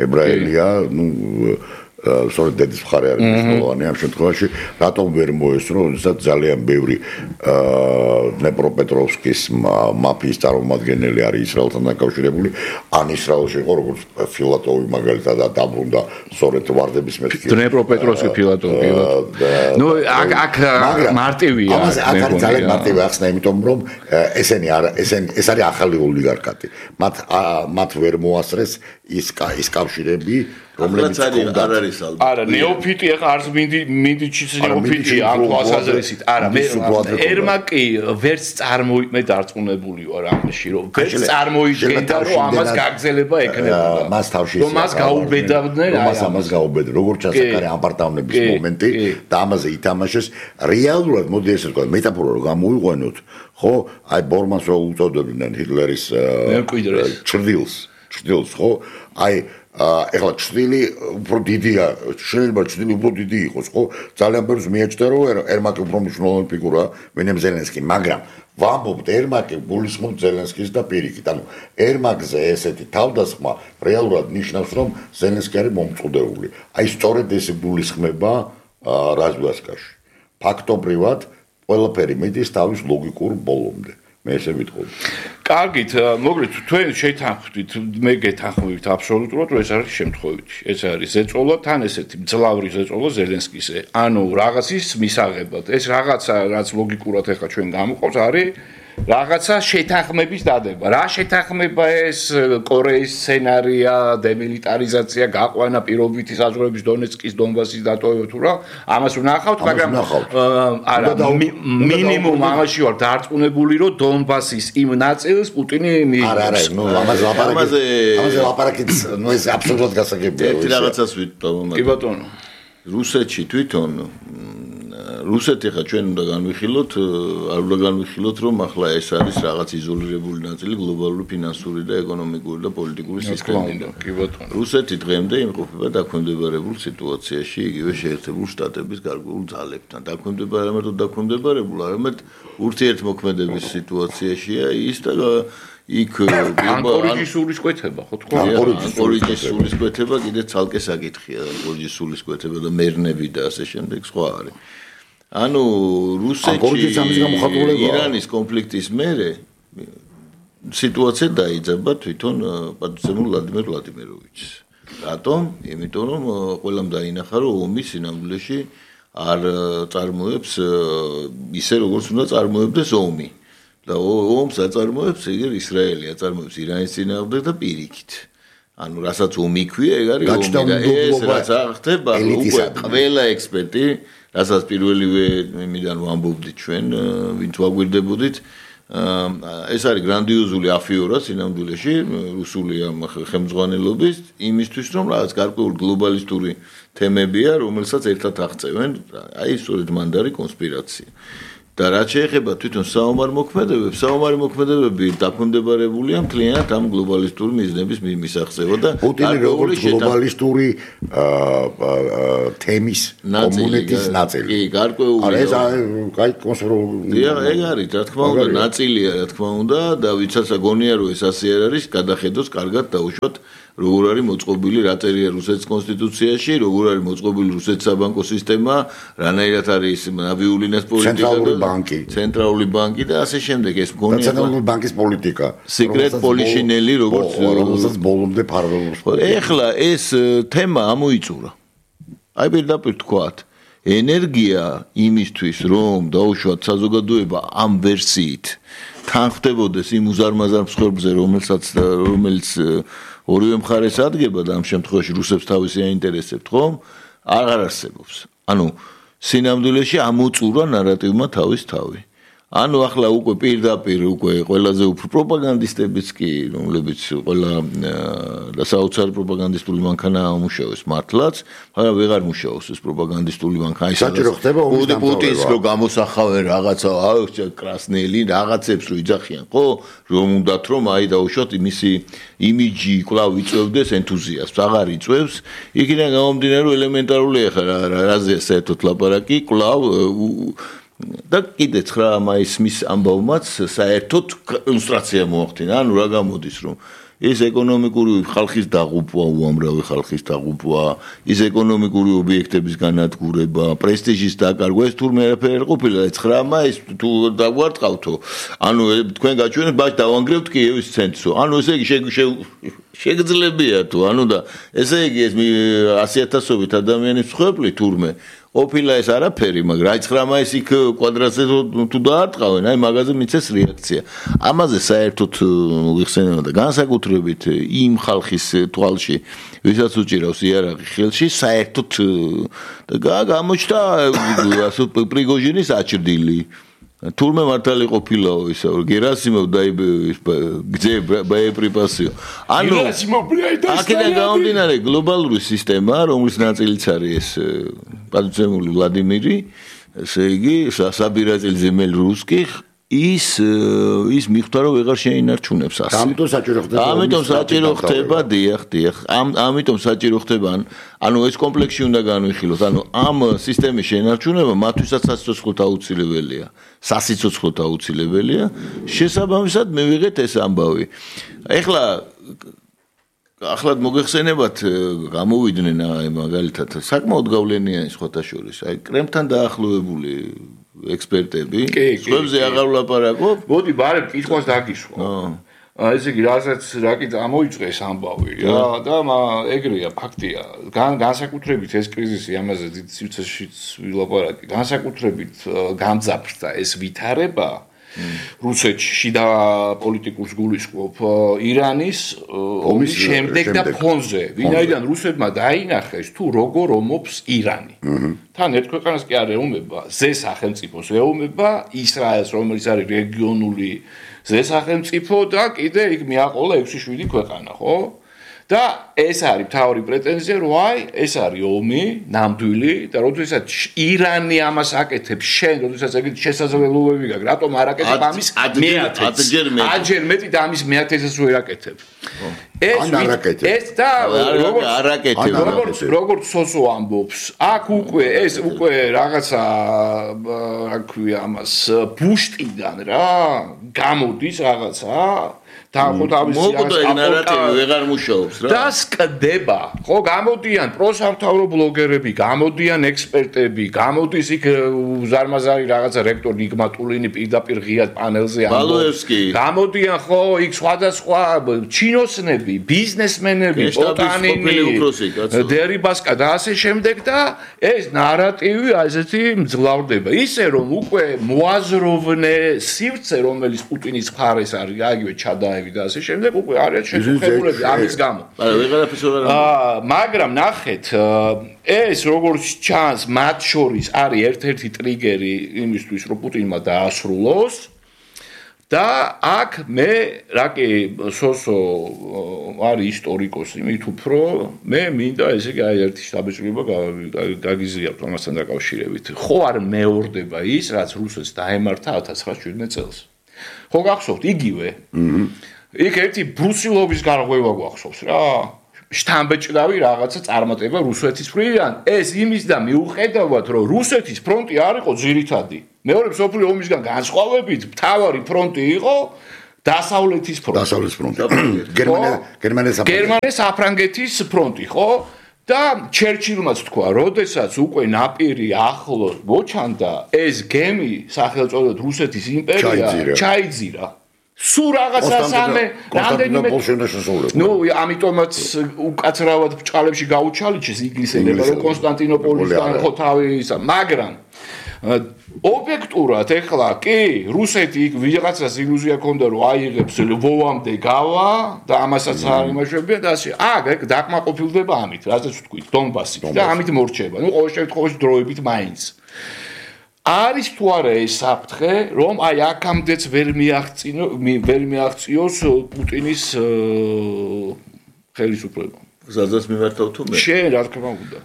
ებრაელია ნუ სწორედ დედის მხარე არის მნიშვნელოვანი ამ შემთხვევაში რატომ ვერ მოესწრო როდესაც ძალიან ბევრი დნეპროპეტროვსკის მაფიის წარმომადგენელი არის ისრაელთან დაკავშირებული ან ისრაელში იყო როგორც ფილატოვი მაგალითად და დაბრუნდა სწორედ ვარდების მეთქი დნეპროპეტროვსკი ფილატოვი ნუ აქ აქ მარტივია ამას აქ არის ძალიან მარტივი ახსნა იმიტომ რომ ესენი არა ესენი ეს არის ახალი ოლიგარქატი მათ მათ ვერ მოასწრეს ის ის კავშირები რომელიც არ არის ალბათ. არა, ნეოფიტი ახლა არც მინდი მინდიჩის ნეოფიტი ამ თვალსაზრისით. არა, მე ერმაკი ვერც წარმოიმე დარწმუნებული ვარ ამაში, რომ ვერც წარმოიდგენდა, რომ ამას გაგზელება ექნებოდა. მას თავში რომ მას გაუბედავდნენ, აი ამას გაუბედავდნენ. როგორც ჩანს, აქ არის ამპარტავნების მომენტი და ამაზე ითამაშეს რეალურად, მოდი ესე ვთქვა, მეტაფორა რომ გამოიყვანოთ, ხო? აი ბორმანს რო უწოდებდნენ ჰიტლერის ჭრდილს, ჭრდილს, ხო? აი ეხლა ჭრილი უფრო დიდია, შეიძლება ჭრილი უფრო დიდი იყოს, ხო? ძალიან ბევრს მიაჩნდა რომ ერმაკი უფრო მნიშვნელოვანი ფიგურაა, ვინმე ზელენსკი, მაგრამ ვამბობთ ერმაკი გულისხმობს ზელენსკის და პირიქით. ანუ ერმაკზე ესეთი თავდასხმა რეალურად ნიშნავს რომ ზელენსკი არის მომწოდებული. აი სწორედ ეს გულისხმება რაზვასკაში. ფაქტობრივად ყველაფერი მიდის თავის ლოგიკურ ბოლომდე. მე ესე ვიტყოდი. კარგით, მოგრეთ თქვენ შეითანხმდით, მე გეთანხმებით აბსოლუტურად, რომ ეს არის შემთხვევითი. ეს არის ზეწოლა, თან ესეთი მძლავრი ზეწოლა ზელენსკისე. ანუ რაღაცის მისაღებად. ეს რაღაცა, რაც ლოგიკურად ახლა ჩვენ გამოყავს, არის რაღაცა შეთანხმების დადება. რა შეთანხმება ეს კორეის სცენარია, დემილიტარიზაცია, გაყვანა პირობითი საზღვრების დონეცკის, დონბასის დატოვება თუ რა, ამას ვნახავთ, მაგრამ არა, მინიმუმ ამაში ვარ დარწმუნებული, რომ დონბასის იმ ნაწილს პუტინი მიიღებს. არა, არა, ნუ ამაზე ლაპარაკი. ამაზე ლაპარაკიც, ნუ ეს აბსოლუტურად გასაგებია. ერთი რაღაცას ვიტყოდ. კი ბატონო. რუსეთში თვითონ რუსეთი ხა ჩვენ უნდა განვიხილოთ, არ უნდა განვიხილოთ, რომ ახლა ეს არის რაღაც იზოლირებული ნაწილი გლობალური ფინანსური და ეკონომიკური და პოლიტიკური სისტემიდან. კი ბატონო. რუსეთი დღემდე იმყოფება დაქვემდებარებულ სიტუაციაში, იგივე შეერთებულ შტატების გარკვეულ ძალებთან. დაქვემდებარე, ამიტომ დაქვემდებარებულ, არამედ ურთიერთმოქმედების სიტუაციაშია ის და იქ ანკორიჯის სულისკვეთება, ხო თქვა? ანკორიჯის სულისკვეთება კიდე ცალკე საკითხია, ანკორიჯის სულისკვეთება და მერნები და ასე შემდეგ სხვა არის. ანუ რუსეთში ირანის კონფლიქტის მერე სიტუაცია დაიძაბა თვითონ პატივცემულ ვლადიმერ ვლადიმიროვიჩს. რატომ? იმიტომ რომ ყველამ დაინახა რომ ომი სინამდვილეში არ წარმოებს ისე როგორც უნდა წარმოებდეს ომი. და ომს აწარმოებს იგი ისრაელი აწარმოებს ირანის წინააღმდეგ და პირიქით. ანუ რასაც ომი ქვია, ეგ არის ომი და ეს რაც ხდება, უკვე ყველა ექსპერტი, რასაც პირველივე იმიდან ვამბობდით ჩვენ, ვინც ვაგვირდებოდით, ეს არის გრანდიოზული афиორა სინამდვილეში რუსული ამ ხელმძღვანელობის იმისთვის რომ რაღაც გარკვეული გლობალისტური თემებია რომელსაც ერთად აღწევენ აი სწორედ მანდარი კონსპირაცია და რაც შეეხება თვითონ საომარ მოქმედებებს საომარი მოქმედებები დაქვემდებარებულია მთლიანად ამ გლობალისტური მიზნების მისაღწევად და პუტინი როგორც გლობალისტური თემის კომუნიკის ნაწილი კი გარკვეული არა ეს კაი კონსპირაცია ეგ არის რა თქმა უნდა ნაწილია რა თქმა უნდა და ვიცაც აგონია რომ ეს ასე არ არის გადახედოს კარგად დაუშვათ როგორ არის მოწყობილი რა წერია რუსეთის კონსტიტუციაში როგორ არის მოწყობილი რუსეთის საბანკო სისტემა რანაირად არის ნავიულინას პოლიტიკა ცენტრალური ბანკი ცენტრალური ბანკი და ასე შემდეგ ეს მგონია ცენტრალური ბანკის პოლიტიკა სიკრეტ პოლიშინელი როგორც რომელსაც ბოლომდე ფარველობს ეხლა ეს თემა ამოიწურა აი პირდაპირ თქვათ ენერგია იმისთვის რომ დაუშვათ საზოგადოება ამ ვერსიით თან ხდებოდეს იმ უზარმაზარ მსხვერპლზე რომელსაც რომელიც ორივე მხარეს ადგება და ამ შემთხვევაში რუსებს თავისი აინტერესებთ ხომ აღარ არსებობს ანუ სინამდვილეში ამოწურა ნარატივმა თავის თავი ანუ ახლა უკვე პირდაპირ უკვე ყველაზე უფრო პროპაგანდისტებიც კი რომლებიც ყველა და საოცარი პროპაგანდისტული მანქანა ამუშავებს მართლაც მაგრამ ვეღარ მუშაობს ეს პროპაგანდისტული მანქანა საჭირო ხდება ომის პუტინს რო გამოსახავენ რაღაცა აუ კრასნელი რაღაცებს რო იძახიან ხო რომ უნდათ რომ აი დაუშვათ მისი იმიჯი კვლავ იწევდეს ენთუზიაზმს აღარ იწევს იქიდან გამომდინარე რომ ელემენტარულია ხა რაზე საერთოდ ლაპარაკი კვლავ და კიდე ცხრა მაისის ამბავმაც საერთოდ ილუსტრაცია მოახდინა ანუ რა გამოდის რომ ეს ეკონომიკური ხალხის დაღუპვა უამრავი ხალხის დაღუპვა ის ეკონომიკური ობიექტების განადგურება პრესტიჟის დაკარგვა ეს თურმე არაფერი არ ყოფილა ცხრა მაისს თუ დაგვარტყავთო ანუ თქვენ გაჩვენეთ ბაჭ დავანგრევთ კიევის ცენტრსო ანუ ესე იგი შეგძლებია თუ ანუ და ესე იგი ეს ასი ათასობით ადამიანის მსხვერპლი თურმე ოფილა ეს არაფერი, მაგრამ აი ცხრა მაისს იქ კვადრატზე თუ დაარტყავენ, აი მაგაზე მიცეს რეაქცია. ამაზე საერთოდ მოიხსენება და განსაკუთრებით იმ ხალხის თვალში, ვისაც უჭირავს იარაღი ხელში, საერთოდ და გამოჩნდა ასე პრიგოჟინის აჭრდილი. თურმე მართალი ყოფილაო ისა გერასიმოვ დაიბე გძე ბაეპრიპასიო ანუ აქედან გამომდინარე გლობალური სისტემა რომლის ნაწილიც არის ეს პატუცემული ვლადიმირი ესე იგი საბირაძილზე მელ რუსკი ის ის მიხვდა რომ ვეღარ შეინარჩუნებს ასე. ამიტომ საჭირო ხდება. ამიტომ საჭირო ხდება, დიახ, დიახ. ამ ამიტომ საჭირო ხდება, ანუ ეს კომპლექსი უნდა განვიხილოთ. ანუ ამ სისტემის შეინარჩუნება მათთვისაც სასიცოცხლოდ აუცილებელია. სასიცოცხლოდ აუცილებელია. შესაბამისად მივიღეთ ეს ამბავი. ეხლა ახლად მოგეხსენებათ გამოვიდნენ აი მაგალითად საკმაოდ გავლენიანი სხვათა შორის. აი კრემლთან დაახლოებული ექსპერტები, სხვებზე აღარ ვლაპარაკობ. მოდი, ბარემ კითხვას დაგისვა. აა ესე იგი, რასაც რაკი ამოიწეს ამბავი რა და ეგრეა ფაქტია. განსაკუთრებით ეს კრიზისი ამაზე დიდ სივრცეშიც ვილაპარაკი. განსაკუთრებით გამძაფრდა ეს ვითარება რუსეთში და პოლიტიკურს გულისხმობ ირანის ომის შემდეგ და ფონზე. ვინაიდან რუსებმა დაინახეს თუ როგორ ომობს ირანი. თან ერთ ქვეყანას კი არ ეომება ზე სახელმწიფოს ეომება ისრაელს რომელიც არის რეგიონული ზე სახელმწიფო და კიდე იქ მიაყოლა ექვსი შვიდი ქვეყანა, ხო? და ეს არის მთავარი პრეტენზია, რომ აი ეს არის ომი, ნამდვილი და როდესაც ირანი ამას აკეთებს, შენ როდესაც ეგეთი შესაძლებლობები გაქვს, რატომ არ აკეთებ ამის მეათეც? ათჯერ მეტი და ამის მეათეცს ვერ აკეთებ. ეს ეს და როგორც როგორც სოსო ამბობს, აქ უკვე ეს უკვე რაღაცა რა ქვია ამას ბუშტიდან რა გამოდის რაღაცა და ხო თავის ნარატივი ვეღარ მუშაობს რა და სკდება ხო გამოდიან პროსამთავრო ბლოგერები გამოდიან ექსპერტები გამოდის იქ უზარმაზარი რაღაცა რექტორ ნიგმატულინი პირდაპირ ღიად პანელზე ამბობს გამოდიან ხო იქ სხვადასხვა ჩინოსნები ბიზნესმენები პოტანინი დერიბასკა და ასე შემდეგ და ეს ნარატივი ასეთი მძლავრდება ისე რომ უკვე მოაზროვნე სივრცე რომელიც პუტინის მხარეს არის აგივე ჩადა და ასე შემდეგ უკვე არის შეხებულები ამის გამო. არა, ვეღარაფერს ვერ აა, მაგრამ ნახეთ, ეს როგორც ჩანს, მათ შორის არის ერთ-ერთი ტრიგერი იმისთვის, რომ პუტინმა დაასრულოს და აქ მე რაკი სოსო არის ისტორიკოსი, მით უფრო მე მინდა ესე იგი აი ერთი შთაბეჭდილება გაგიზიაროთ ამასთან დაკავშირებით. ხო არ მეორდება ის, რაც რუსეთს დაემართა ათას ცხრაასი შვიდმეტ წელს. ხო გახსოვთ იგივე? აჰა. იქ ერთი ბრუსილოვის გარღვევა გვახსოვს რა. შთამბეჭდავი რაღაცა წარმატება რუსეთის მხრიდან. ეს იმის და მიუხედავად, რომ რუსეთის ფრონტი არ იყო ძირითადი. მეორე მსოფლიო ომისგან განსხვავებით, მთავარი ფრონტი იყო დასავლეთის ფრონტი. დასავლეთის ფრონტი. გერმანია, გერმანია საფრანგეთის. გერმანია საფრანგეთის ფრონტი, ხო? და ჩერჩილმაც თქვა, როდესაც უკვე ნაპირი ახლოს მოჩანდა, ეს გემი სახელწოდოთ რუსეთის იმპერია ჩაიძირა. სულ რაღაცა სამე რამდენიმე ნუ ამიტომაც უკაცრავად ბჭყალებში გაუჩალიჩეს ინგლისელებმა რომ კონსტანტინოპოლისთან ხო თავი ისა მაგრამ ობიექტურად ეხლა კი რუსეთი იქ ვიღაცას ილუზია ჰქონდა რომ აიღებს ლვოვამდე გავა და ამასაც არ იმაშებია და ასე აგ ეგ დაკმაყოფილდება ამით რასაც ვთქვით დონბასით და ამით მორჩება ნუ ყოველ შემთხვევაში დროებით მაინც არის თუ არა ეს საფრთხე, რომ აი აქამდეც ვერ მიაღწიო ვერ მიაღწიოს პუტინის ხელისუფლება. სადაც მიმართავ თუ მე? შენ რა თქმა უნდა.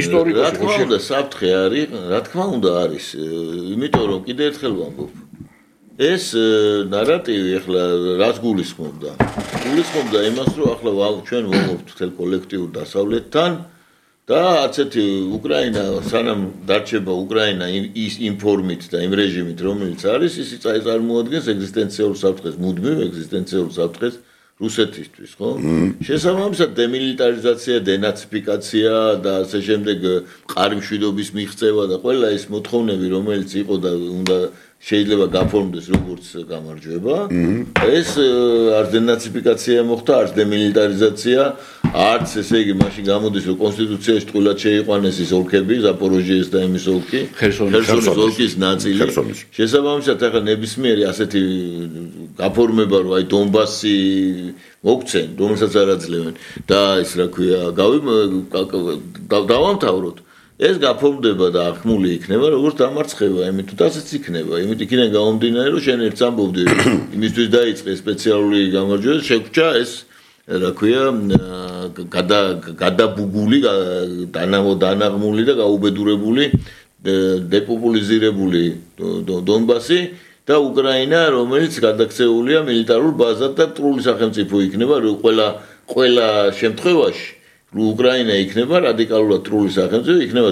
ისტორიკოსი რა თქმა უნდა საფრთხე არის, რა თქმა უნდა არის, იმიტომ რომ კიდე ერთხელ ვამბობ. ეს ნარატივი ახლა რას გულისხმობდა? გულისხმობდა იმას, რომ ახლა ჩვენ ვამბობთ თელ კოლექტიურ დასავლეთთან და ასეთი უკრაინა სანამ დარჩება უკრაინა ის ინფორმით და იმ რეჟიმით რომელიც არის ის წარმოადგენს ეგზისტენციალურ საფრთხეს მუდმივ ეგზისტენციალურ საფრთხეს რუსეთისთვის ხო შესაბამისად დემილიტარიზაცია დენაციფიკაცია და ასე შემდეგ მყარი მშვიდობის მიღწევა და ყველა ეს მოთხოვნები რომელიც იყო და უნდა შეიძლება გაფორმდეს როგორც გამარჯვება ეს არც დენაციფიკაცია მოხდა არც დემილიტარიზაცია არც ესე იგი მაშინ გამოდის რომ კონსტიტუციაში თყოლად შეიყვანეს ის ოლქები ზაპოროჟიეს და იმის ოლქი ხერსონის ოლქის ნაწილი შესაბამისად ახლა ნებისმიერი ასეთი გაფორმება რომ აი დონბასი მოგცენ რომელსაც არ აძლევენ და ის რა ქვია გავი დავამთავროთ ეს გაფორმდება და აღქმული იქნება როგორც დამარცხება, იმიტომ ასეც იქნება, იმით იქიდან გამომდინარე რომ შენ ერთს ამბობდი იმისთვის დაიწყე სპეციალური გამარჯვება, შეგვჭა ეს რა ქვია გადაბუგული, დანაღმული და გაუბედურებული დეპოპულიზირებული დონბასი და უკრაინა, რომელიც გადაქცეულია მილიტარულ ბაზად და მტრული სახელმწიფო იქნება, რომ ყველა ყველა შემთხვევაში უკრაინა იქნება რადიკალურად ტრული სახელმწიფო, იქნება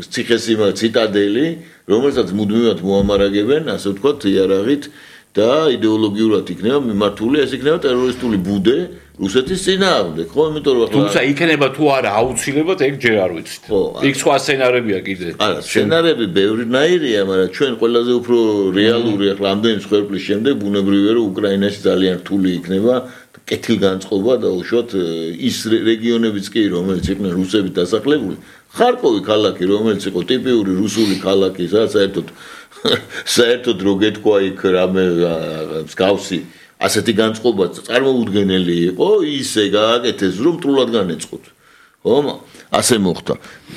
ციხესიმა ციტადელი, რომელსაც მუდმივად მოამარაგებენ, ასე ვთქვათ, იარაღით და იდეოლოგიურად იქნება მიმართული, ეს იქნება ტერორისტული ბუდე რუსეთის წინააღმდეგ, ხო, იმიტომ რომ თუმცა იქნება თუ არა აუცილებლად ეგ ჯერ არ ვიცით. იქ სხვა სცენარებია კიდე. არა, სცენარები ბევრნაირია, მაგრამ ჩვენ ყველაზე უფრო რეალური ახლა ამდენი მსხვერპლის შემდეგ ბუნებრივია რომ უკრაინაში ძალიან რთული იქნება კეთილგანწყობა და უშუალოდ ის რეგიონებიც კი რომელიც იყვნენ რუსებით დასახლებული ხარკოვი ქალაქი რომელიც იყო ტიპიური რუსული ქალაქი საერთოდ საერთოდ რო გეთქვა იქ რამე მსგავსი ასეთი განწყობა წარმოუდგენელი იყო ისე გააკეთეს რომ მტრულად განეწყოთ ხო ასე მოხდა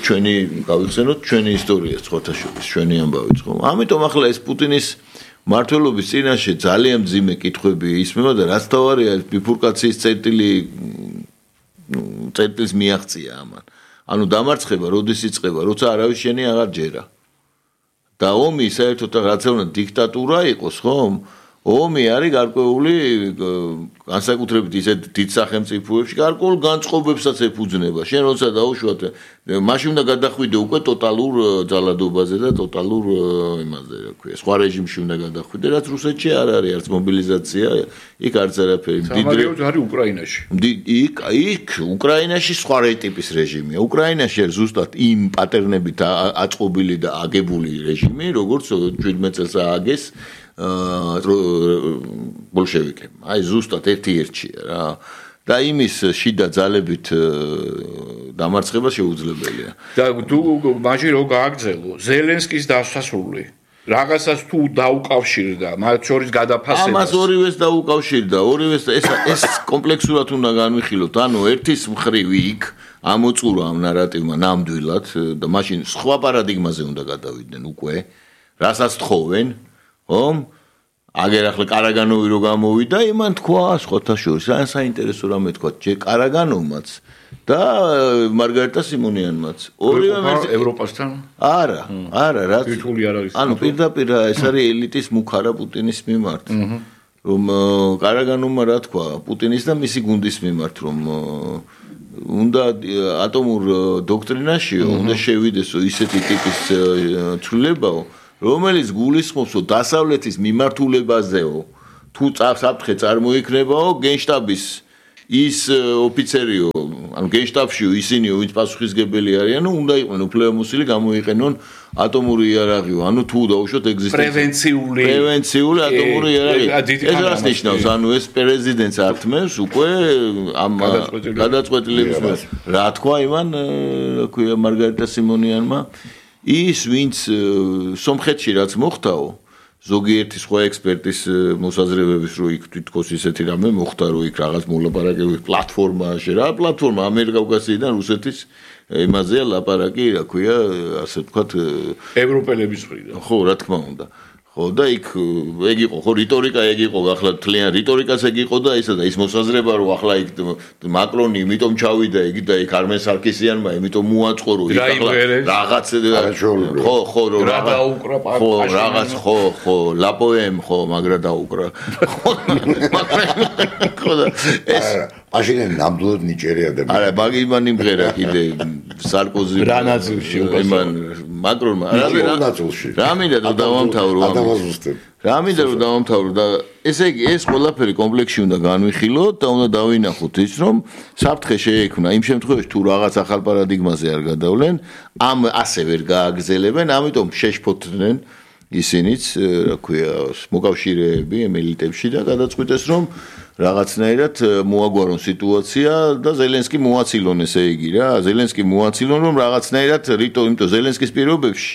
ჩვენი გავიხსენოთ ჩვენი ისტორია ხოთაშობის ჩვენი ამბავიც ხო ამიტომ ახლა ეს პუტინის მართლობის წინაშე ძალიან მძიმე კითხვები ისმება და რაც თავარია ბიფურკაციის წერტილი წერტილს მიაღწია ამან. ანუ დამარცხება როდის იწყება, როცა არავის შენი აღარ ჯერა. და ომი საერთოდ რაც უნდა დიქტატურა იყოს, ხო? ომი არის გარკვეული განსაკუთრებით ისეთ დიდ სახელმწიფოებში გარკვეულ განწყობებსაც ეფუძნება. შენ როცა დაუშვათ, მაშინ უნდა გადახვიდე უკვე ტოტალურ ძალადობაზე და ტოტალურ იმაზე, რა ქვია, სხვა რეჟიმში უნდა გადახვიდე, რაც რუსეთში არ არის, არც მობილიზაცია, იქ არც არაფერი. დიდრე არის უკრაინაში. იქ იქ უკრაინაში სხვა ტიპის რეჟიმია. უკრაინაში არის ზუსტად იმ პატერნებით აწყობილი და აგებული რეჟიმი, როგორც შვიდმეტ წელს ააგეს ბოლშევიკებმა. აი ზუსტად ერთ-ერთია რა. და იმის შიდა ძალებით დამარცხება შეუძლებელია. და თუ მაშინ რო გააგრძელო ზელენსკის დასასრული რაღაცას თუ დაუკავშირდა, მათ შორის გადაფასებას. ამას ორივეს დაუკავშირდა, ორივეს ეს ეს კომპლექსურად უნდა განვიხილოთ. ანუ ერთის მხრივ იქ ამოწურა ამ ნარატივმა ნამდვილად და მაშინ სხვა პარადიგმაზე უნდა გადავიდნენ უკვე, რასაც თხოვენ, ხომ? აგერ ახლა კარაგანოვი რო გამოვიდა, იმან თქვა სხვათა შორის, რა საინტერესო რამე თქვა, ჯერ კარაგანოვმაც და მარგარიტა სიმონიანმაც. ორივე ევროპასთან? არა, არა, რაც თითული არ არის. ანუ პირდაპირ ეს არის ელიტის მუქარა პუტინის მიმართ. რომ კარაგანოვმა რა თქვა პუტინის და მისი გუნდის მიმართ, რომ უნდა ატომურ დოქტრინაშიო უნდა შევიდესო ისეთი ტიპის ცვლილებაო, რომელიც გულისხმობს დასავლეთის მიმართულებაზეო. თუ საფრთხე წარმოიქმნებაო გენშტაბის ის ოფიცერიო, ანუ გენშტაბშიო ისინიო, ვინც პასუხისგებელი არიანო, უნდა იყვნენ უფლებამოსილი გამოიყენონ ატომური იარაღიო, ანუ თუ დაუშვათ ეგზისტენცია პრევენციული პრევენციული ატომური იარაღი. ეს რას ნიშნავს? ანუ ეს პრეზიდენტს ართმევს უკვე ამ გადაწყვეტილების მიერ. რა თქვა იმან, რა ქვია მარგარიტა სიმონიანმა, ის ვინც სომხეთში რაც მოხდაო, ზოგიერთი სხვა ექსპერტის მოსაზრებების რო იქ თვითონ ისეთი რამე მოხდა, რომ იქ რაღაც მოლაპარაკებები პლატფორმაში რა, პლატფორმა ამერიკა-კავკასიიდან რუსეთის იმაზეა ლაპარაკი, რა ქვია, ასე ვთქვათ, ევროპელების მხრიდან. ხო, რა თქმა უნდა. ხო და იქ ეგ იყო, ხო რიტორიკა ეგ იყო, ახლა თლიან რიტორიკაც ეგ იყო და ისა და ის მოსაზრება რომ ახლა იქ მაკრონი იმიტომ ჩავიდა იქ და იქ არმენ სარკისიანმა იმიტომ მოაწყო რომ იქ ახლა რაღაც ხო ხო რომ რაღაც ხო რაღაც ხო ხო ლაპოემ ხო მაგრა დაუკრა ხო და ეს მაშინ ნამდვილად ნიჭიერი ადამიანი არა მაგი იმან იმღერა კიდე სარკოზი რა ნაწილში იმან მაკრონმა რა ნაწილში რა მინდა რომ დავამთავრო რა მინდა რომ დავამთავრო და ესე იგი ეს ყველაფერი კომპლექსში უნდა განვიხილოთ და უნდა დავინახოთ ის რომ საფრთხე შეექმნა იმ შემთხვევაში თუ რაღაც ახალ პარადიგმაზე არ გადავლენ ამ ასე ვერ გააგრძელებენ ამიტომ შეშფოთდნენ ისინიც რა ქვია მოკავშირეები ემელიტებში და გადაწყვიტეს რომ რაღაცნაირად მოაგვარონ სიტუაცია და ზელენსკი მოაცილონ ესე იგი რა ზელენსკი მოაცილონ რომ რაღაცნაირად რიტო იმიტომ ზელენსკის პირობებში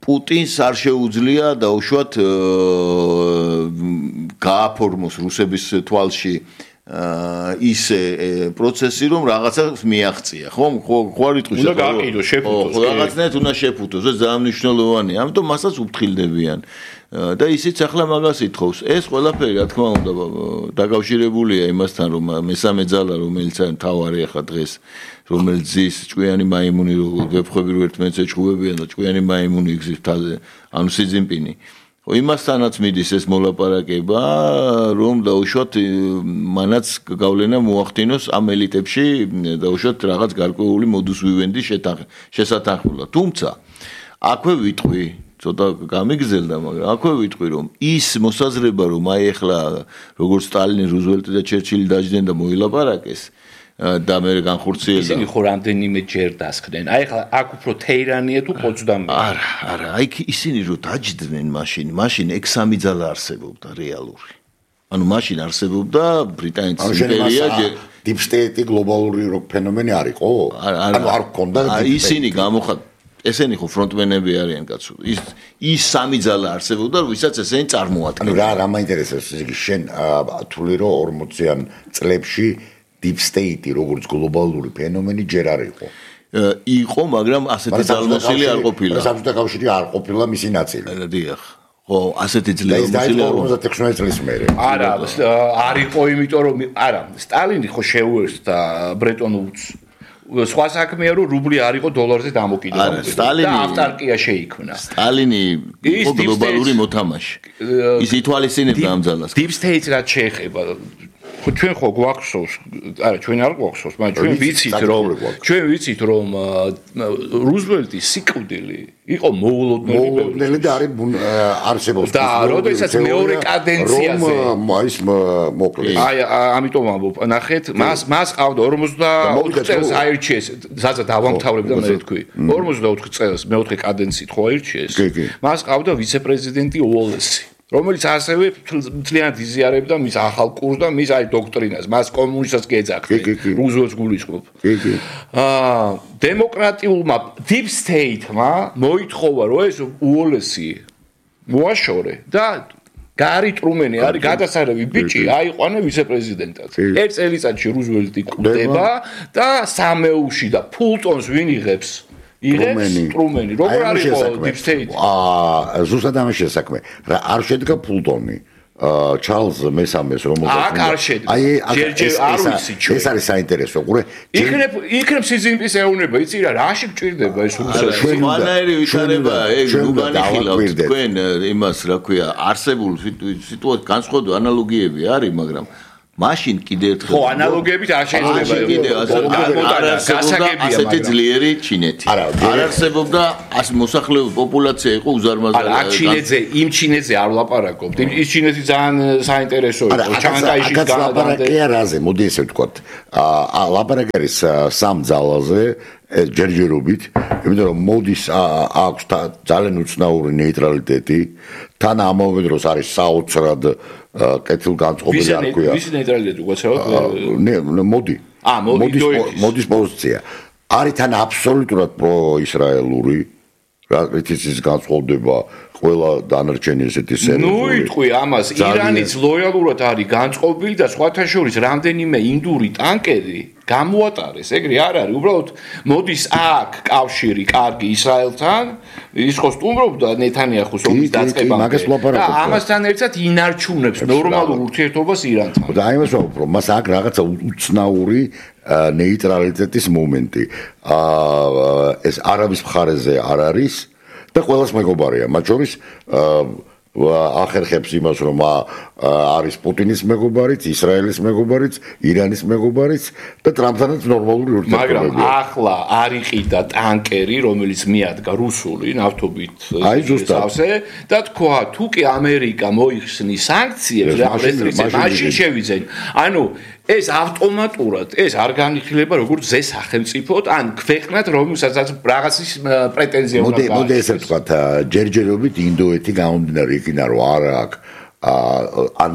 პუტინს არ შეუძლია დაუშვათ გააფორმოს რუსების თვალში ისე პროცესი რომ რაღაცას მიაღწია ხო ხო არ იტყვის უნდა გააკიდო შეფუთოს ხო რაღაცნაირად უნდა შეფუთოს ეს ძალიან მნიშვნელოვანია ამიტომ მასაც უფრთხილდებიან და ისიც ახლა მაგას ითხოვს ეს ყველაფერი რა თქმა უნდა დაკავშირებულია იმასთან რომ მესამე ძალა რომელიც არის მთავარი ახლა დღეს რომელიც ზის ჭკვიანი მაიმუნი ვეფხვები რო ერთმანეთს ეჭუბებიან და ჭკვიანი მაიმუნი იგზის თაზე ანუ სი ძინპინი ხო იმასთანაც მიდის ეს მოლაპარაკება რომ დაუშვათ მანაც გავლენა მოახდინოს ამ ელიტებში დაუშვათ რაღაც გარკვეული მოდუს ვივენდის შესათანხმებლად თუმცა აქვე ვიტყვი ცოტა გამიგზელდა მაგრამ აქვე ვიტყვი რომ ის მოსაზრება რომ აი ახლა როგორც სტალინი რუზველტი და ჩერჩილი დაждდნენ და მოილაპარაკეს და მე განხორციელდა ისინი ხო რამდენიმე ჯერ დასხდნენ აი ახლა აქ უფრო თეირანია თუ პოცდამი არა არა აი ისინი რო დაждდნენ მაშინ მაშინ ეგ სამი ძალა არსებობდა რეალური ანუ მაშინ არსებობდა ბრიტანეთის იმპერია დიპ სტეიტი გლობალური ფენომენი არ იყო ანუ არ გქონდა ისინი გამოხატ ესენი ხო ფრონტმენები არიან კაცო ის ის სამი ძალა არსებობდა ვისაც ესენი წარმოადგენდნენ რა რა მაინტერესებს იგი შენ თვლი რომ ორმოციან წლებში deep state როგორც გლობალური ფენომენი ჯერ არ იყო. იყო, მაგრამ ასეთი ძალმოსილი არ ყოფილა. საბჭოთა კავშირი არ ყოფილა მისი ნაწილი. დიახ. ხო, ასეთი ძლიერმოსილი არ იყო ოცდაექვსი წლის მერე. არა, არ იყო, იმიტომ რომ არა, სტალინი ხო შეუერთდა ბრეტონ უდს. სხვა საქმეა რომ რუბლი არ იყო დოლარზე დამოკიდებული. არა, სტალინი და ავტარკია შეიქმნა. სტალინი იყო გლობალური მოთამაშე. ის ითვალისწინებდა ამ ძალას. deep state რაც შეეხება ხო ჩვენ ხო გვახსოვს არა ჩვენ არ გვახსოვს მაგრამ ჩვენ ვიცით რომ ჩვენ ვიცით რომ რუზველტი სიკვდილი იყო მოულოდნელი მოულოდნელი და არის არსებობს და როდესაც მეორე კადენციაზე ის მოკლეს აი ამიტომ ამბობ ნახეთ მას მას ყავდა ორმოცდაოთხ წელს აირჩიეს ზაძა დავამთავრებდა მე თქვი ორმოცდაოთხ წელს მეოთხე კადენციით ხო აირჩიეს მას ყავდა ვიცე-პრეზიდენტი უოლესი რომელიც ასევე მთლიანად იზიარებდა მის ახალ კურსს და მის აი დოქტრინას, მას კომუნისტებს გეძახდა, რუზველტს გულისხმობ. აა დემოკრატიულმა deep state-მა მოითხოვა, რომ ეს უოლესი მოაშორე და გარი ტრუმენი არის გადასარევი ბიჭი, აიყვანე ვიცე-პრეზიდენტად. ერთ წელიწადში რუზველტი კვდება და სამეუში და ფულტონს ვინ იღებს? იღებს სტრუმენი. როგორ არის deep state? აა ზუსტად ამის შესაქმე. რა არ შედგა ფულტონი. აა ჩარლზ მესამეს რომელსაც აქ არ შედგა. ჯერჯერ არ ვიცი ჩვენ. ეს არის საინტერესო. ყურე. იქნებ იქნებ სიზიმპის ეუნება, იცი რა, რაში გჭირდება ეს რუსეთში? ჩვენაერი ვითარება, ეგ უგანიხილავთ თქვენ იმას, რა ქვია, არსებულ სიტუაციას განსხვავებული ანალოგიები არის, მაგრამ მაშინ კიდე ერთხელ ხო ანალოგიებით არ შეიძლება კიდე გასაგებია ასეთი ძლიერი ჩინეთი არ არსებობდა ას მოსახლეობის პოპულაცია იყო უზარმაზარი არა ჩინეთზე იმ ჩინეთზე არ ვლაპარაკობთ ის ჩინეთი ძალიან საინტერესო იყო ჩანგაიშის განადამდე რაზე მოდი ესე ვთქვათ აა ლაპარაკი არის სამ ძალაზე ჯერჯერობით იმიტომ რომ მოდის აქვს ძალიან უცნაური ნეიტრალიტეტი თან ამავე დროს არის საოცრად კეთილგანწყობილი არ ქვია. ვის ნეიტრალიტეტი უცნაურად? ნე მოდი. აა მოდის მოდის პოზიცია. არის თან აბსოლუტურად პროისრაელური რა რითიც განწყობდება ყველა დანარჩენი ესეთი სერიოზული. ნუ იტყვი ამას ირანიც ლოიალურად არის განწყობილი და სხვათა შორის რამდენიმე ინდური ტანკერი გამოატარეს, ეგრე არ არის, უბრალოდ მოდის აქ კავშირი კარგი ისრაელთან, ის ხო სტუმრობდა ნეთანიახუს ომის დაწყებამდე. და ამასთან ერთად ინარჩუნებს ნორმალურ ურთიერთობას ირანთან. და აი მას ვამბობ, რომ მას აქ რაღაცა უცნაური ნეიტრალიტეტის მომენტი. აა ეს არაბის მხარეზე არ არის და ყველას მეგობარია, მათ შორის ახერხებს იმას რომ არის პუტინის მეგობარიც, ისრაელის მეგობარიც, ირანის მეგობარიც და ტრამპთანაც ნორმალური ურთიერთობები. მაგრამ ახლა არ იყიდა ტანკერი, რომელიც მიადგა რუსული ნავთობით სავსე და თქვა, თუ კი ამერიკა მოიხსნის სანქციებს და რესტრიქციებს, მაშინ შევიძენ. ანუ ეს ავტომატურად ეს არ განიხილება როგორც ზე სახელმწიფოდ ან ქვეყნად რომელსაც რაღაცის პრეტენზია უნდა გააჩნდეს. მოდი ესე ვთქვათ, ჯერჯერობით ინდოეთი გამომდინარე იქიდან რომ არ აქვს ან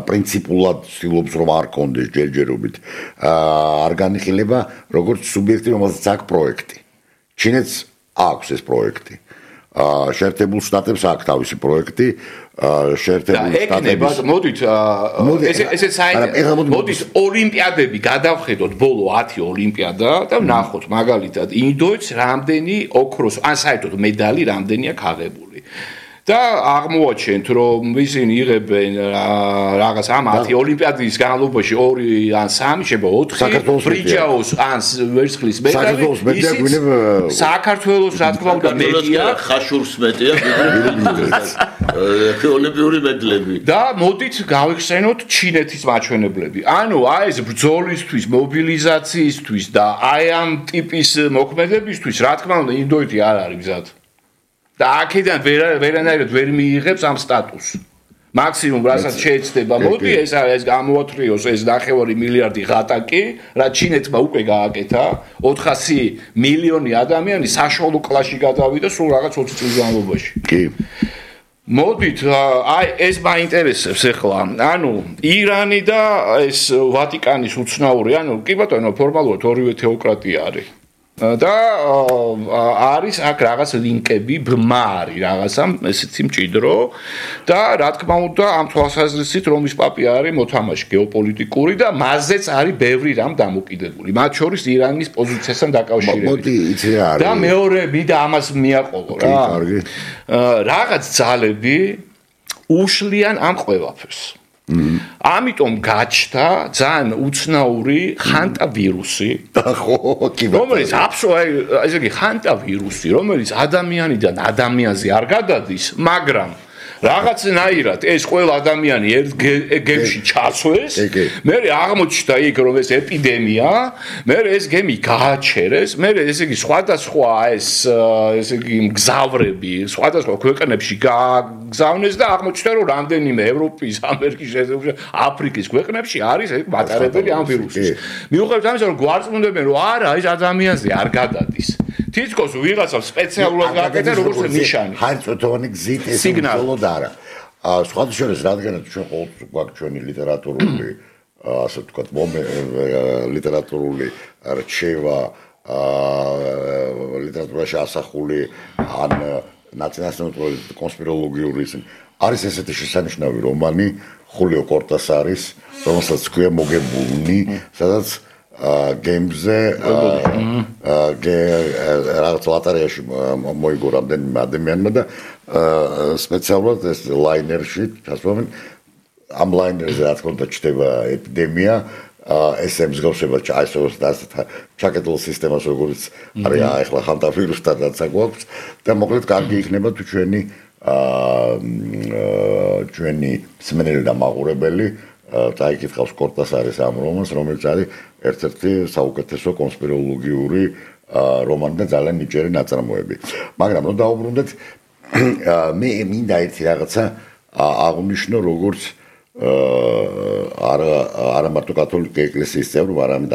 პრინციპულად ცდილობს რომ არ კონდეს ჯერჯერობით არ განიხილება როგორც სუბიექტი რომელსაც აქვს პროექტი. ჩინეთს აქვს ეს პროექტი. შეერთებულ შტატებს აქვს თავისი პროექტი შეერთებულ შტატებს მოდით ესე ესე საერთოდ მოდით ოლიმპიადები გადავხედოთ ბოლო ათი ოლიმპიადა და ვნახოთ მაგალითად ინდოეთს რამდენი ოქროს ან საერთოდ медаლი რამდენი აქვს აღებული და აღმოაჩენთ რომ ისინი იღებენ რაღაც ამ ათი ოლიმპიადის განმავლობაში ორი ან სამი შეიძლება ოთხი ბრიჯაოს ან ვერცხლის медаლი საქართველოს რა თქმა უნდა მედია ხაშურს მეტია ოლიმპიური медаლები და მოდით გავიხსენოთ ჩინეთის მაჩვენებლები ანუ აი ეს ბრძოლისთვის მობილიზაციისთვის და აი ამ ტიპის მოქმედებისთვის რა თქმა უნდა ინდოეთი არ არის მზად და აქედან ვერანაირად ვერ მიიღებს ამ სტატუსს. მაქსიმუმ რასაც შეეცდება, მოდი ეს არის გამოათრიოს ეს ნახევარი მილიარდი ღატაკი, რა ჩინეთმა უკვე გააკეთა, ოთხასი მილიონი ადამიანი საშუალო კლასში გადავიდა სულ რაღაც ოცი წლის განმავლობაში. კი. მოდით, აი ეს მაინტერესებს ახლა. ანუ ირანი და ეს ვატიკანის უცნაური, ანუ კი ბატონო, ფორმალურად ორივე თეოკრატია არის. და არის აქ რაღაც ლინკები ბმარი რაღაცა ესეთი მჭიდრო და რა თქმა უნდა ამ თვალსაზრისით რომის პაპი არის მოთამაშე გეოპოლიტიკური და მასზეც არის ბევრი რამ დამოკიდებული მათ შორის ირანის პოზიციასთან დაკავშირებით მოდი იცი რა არის და მეორე მინდა ამას მიაყოლო რა რაღაც ძალები უშლიან ამ ყველაფერს ამიტომ გაჩნდა ძალიან უცნაური ხანტა ვირუსი ხო კი რომელიც აბსოლუტურად ესე იგი ხანტა ვირუსი რომელიც ადამიანიდან ადამიანზე არ გადადის მაგრამ რაღაცნაირად ეს ყველა ადამიანი ერთ გემში ჩაცვეს მე აღმოჩნდა იქ რომ ეს ეპიდემია მე ეს გემი გააჩერეს მე ესე იგი სხვადასხვა ეს ესე იგი მგზავრები სხვადასხვა ქვეყნებში გააგზავნეს და აღმოჩნდა რომ რამდენიმე ევროპის ამერიკის აფრიკის ქვეყნებში არის მატარებელი ამ ვირუსის მიუხედავად ამისა რომ გვარწმუნებენ რომ არა ეს ადამიანზე არ გადადის თითქოს ვიღაცა სპეციალურად გააკეთა როგორც ნიშანი ხარწოთოვანი გზით ეს უბრალოდ არა სხვათა შორის რადგანაც ჩვენ ყოველთვის გვაქვს ჩვენი ლიტერატურული ასე ვთქვათ ლიტერატურული რჩევა ლიტერატურაში ასახული ან ნაციონალისტური კონსპიროლოგიური არის ესეთი შესანიშნავი რომანი ხულიო კორტასარის რომელსაც ქვია მოგებულნი სადაც გეიმზე რაღაც ლოტარეაში მოიგო რამდენიმე ადამიანმა და სპეციალურად ეს ლაინერში ჩასვამენ ამ ლაინერზე რა თქმა უნდა ჩდება ეპიდემია ეს ემსგავსება ჩაისოს და ჩაკეტილ სისტემას როგორც არის ახლა ხანტავირუსთანაც აქვს და მოკლედ კარგი იქნება თუ ჩვენი ჩვენი მსმენელი და მაყურებელი დაიკითხავს კორტასარის ამ რომანს, რომელიც არის ერთ-ერთი საუკეთესო კონსპიროლოგიური რომანი და ძალიან ნიჭიერი ნაწარმოები. მაგრამ რომ დაუბრუნდეთ, მე მინდა ერთი რაღაცა აღნიშნო, როგორც არა არა მარტო კათოლიკე ეკლესიის წევრ, არამედ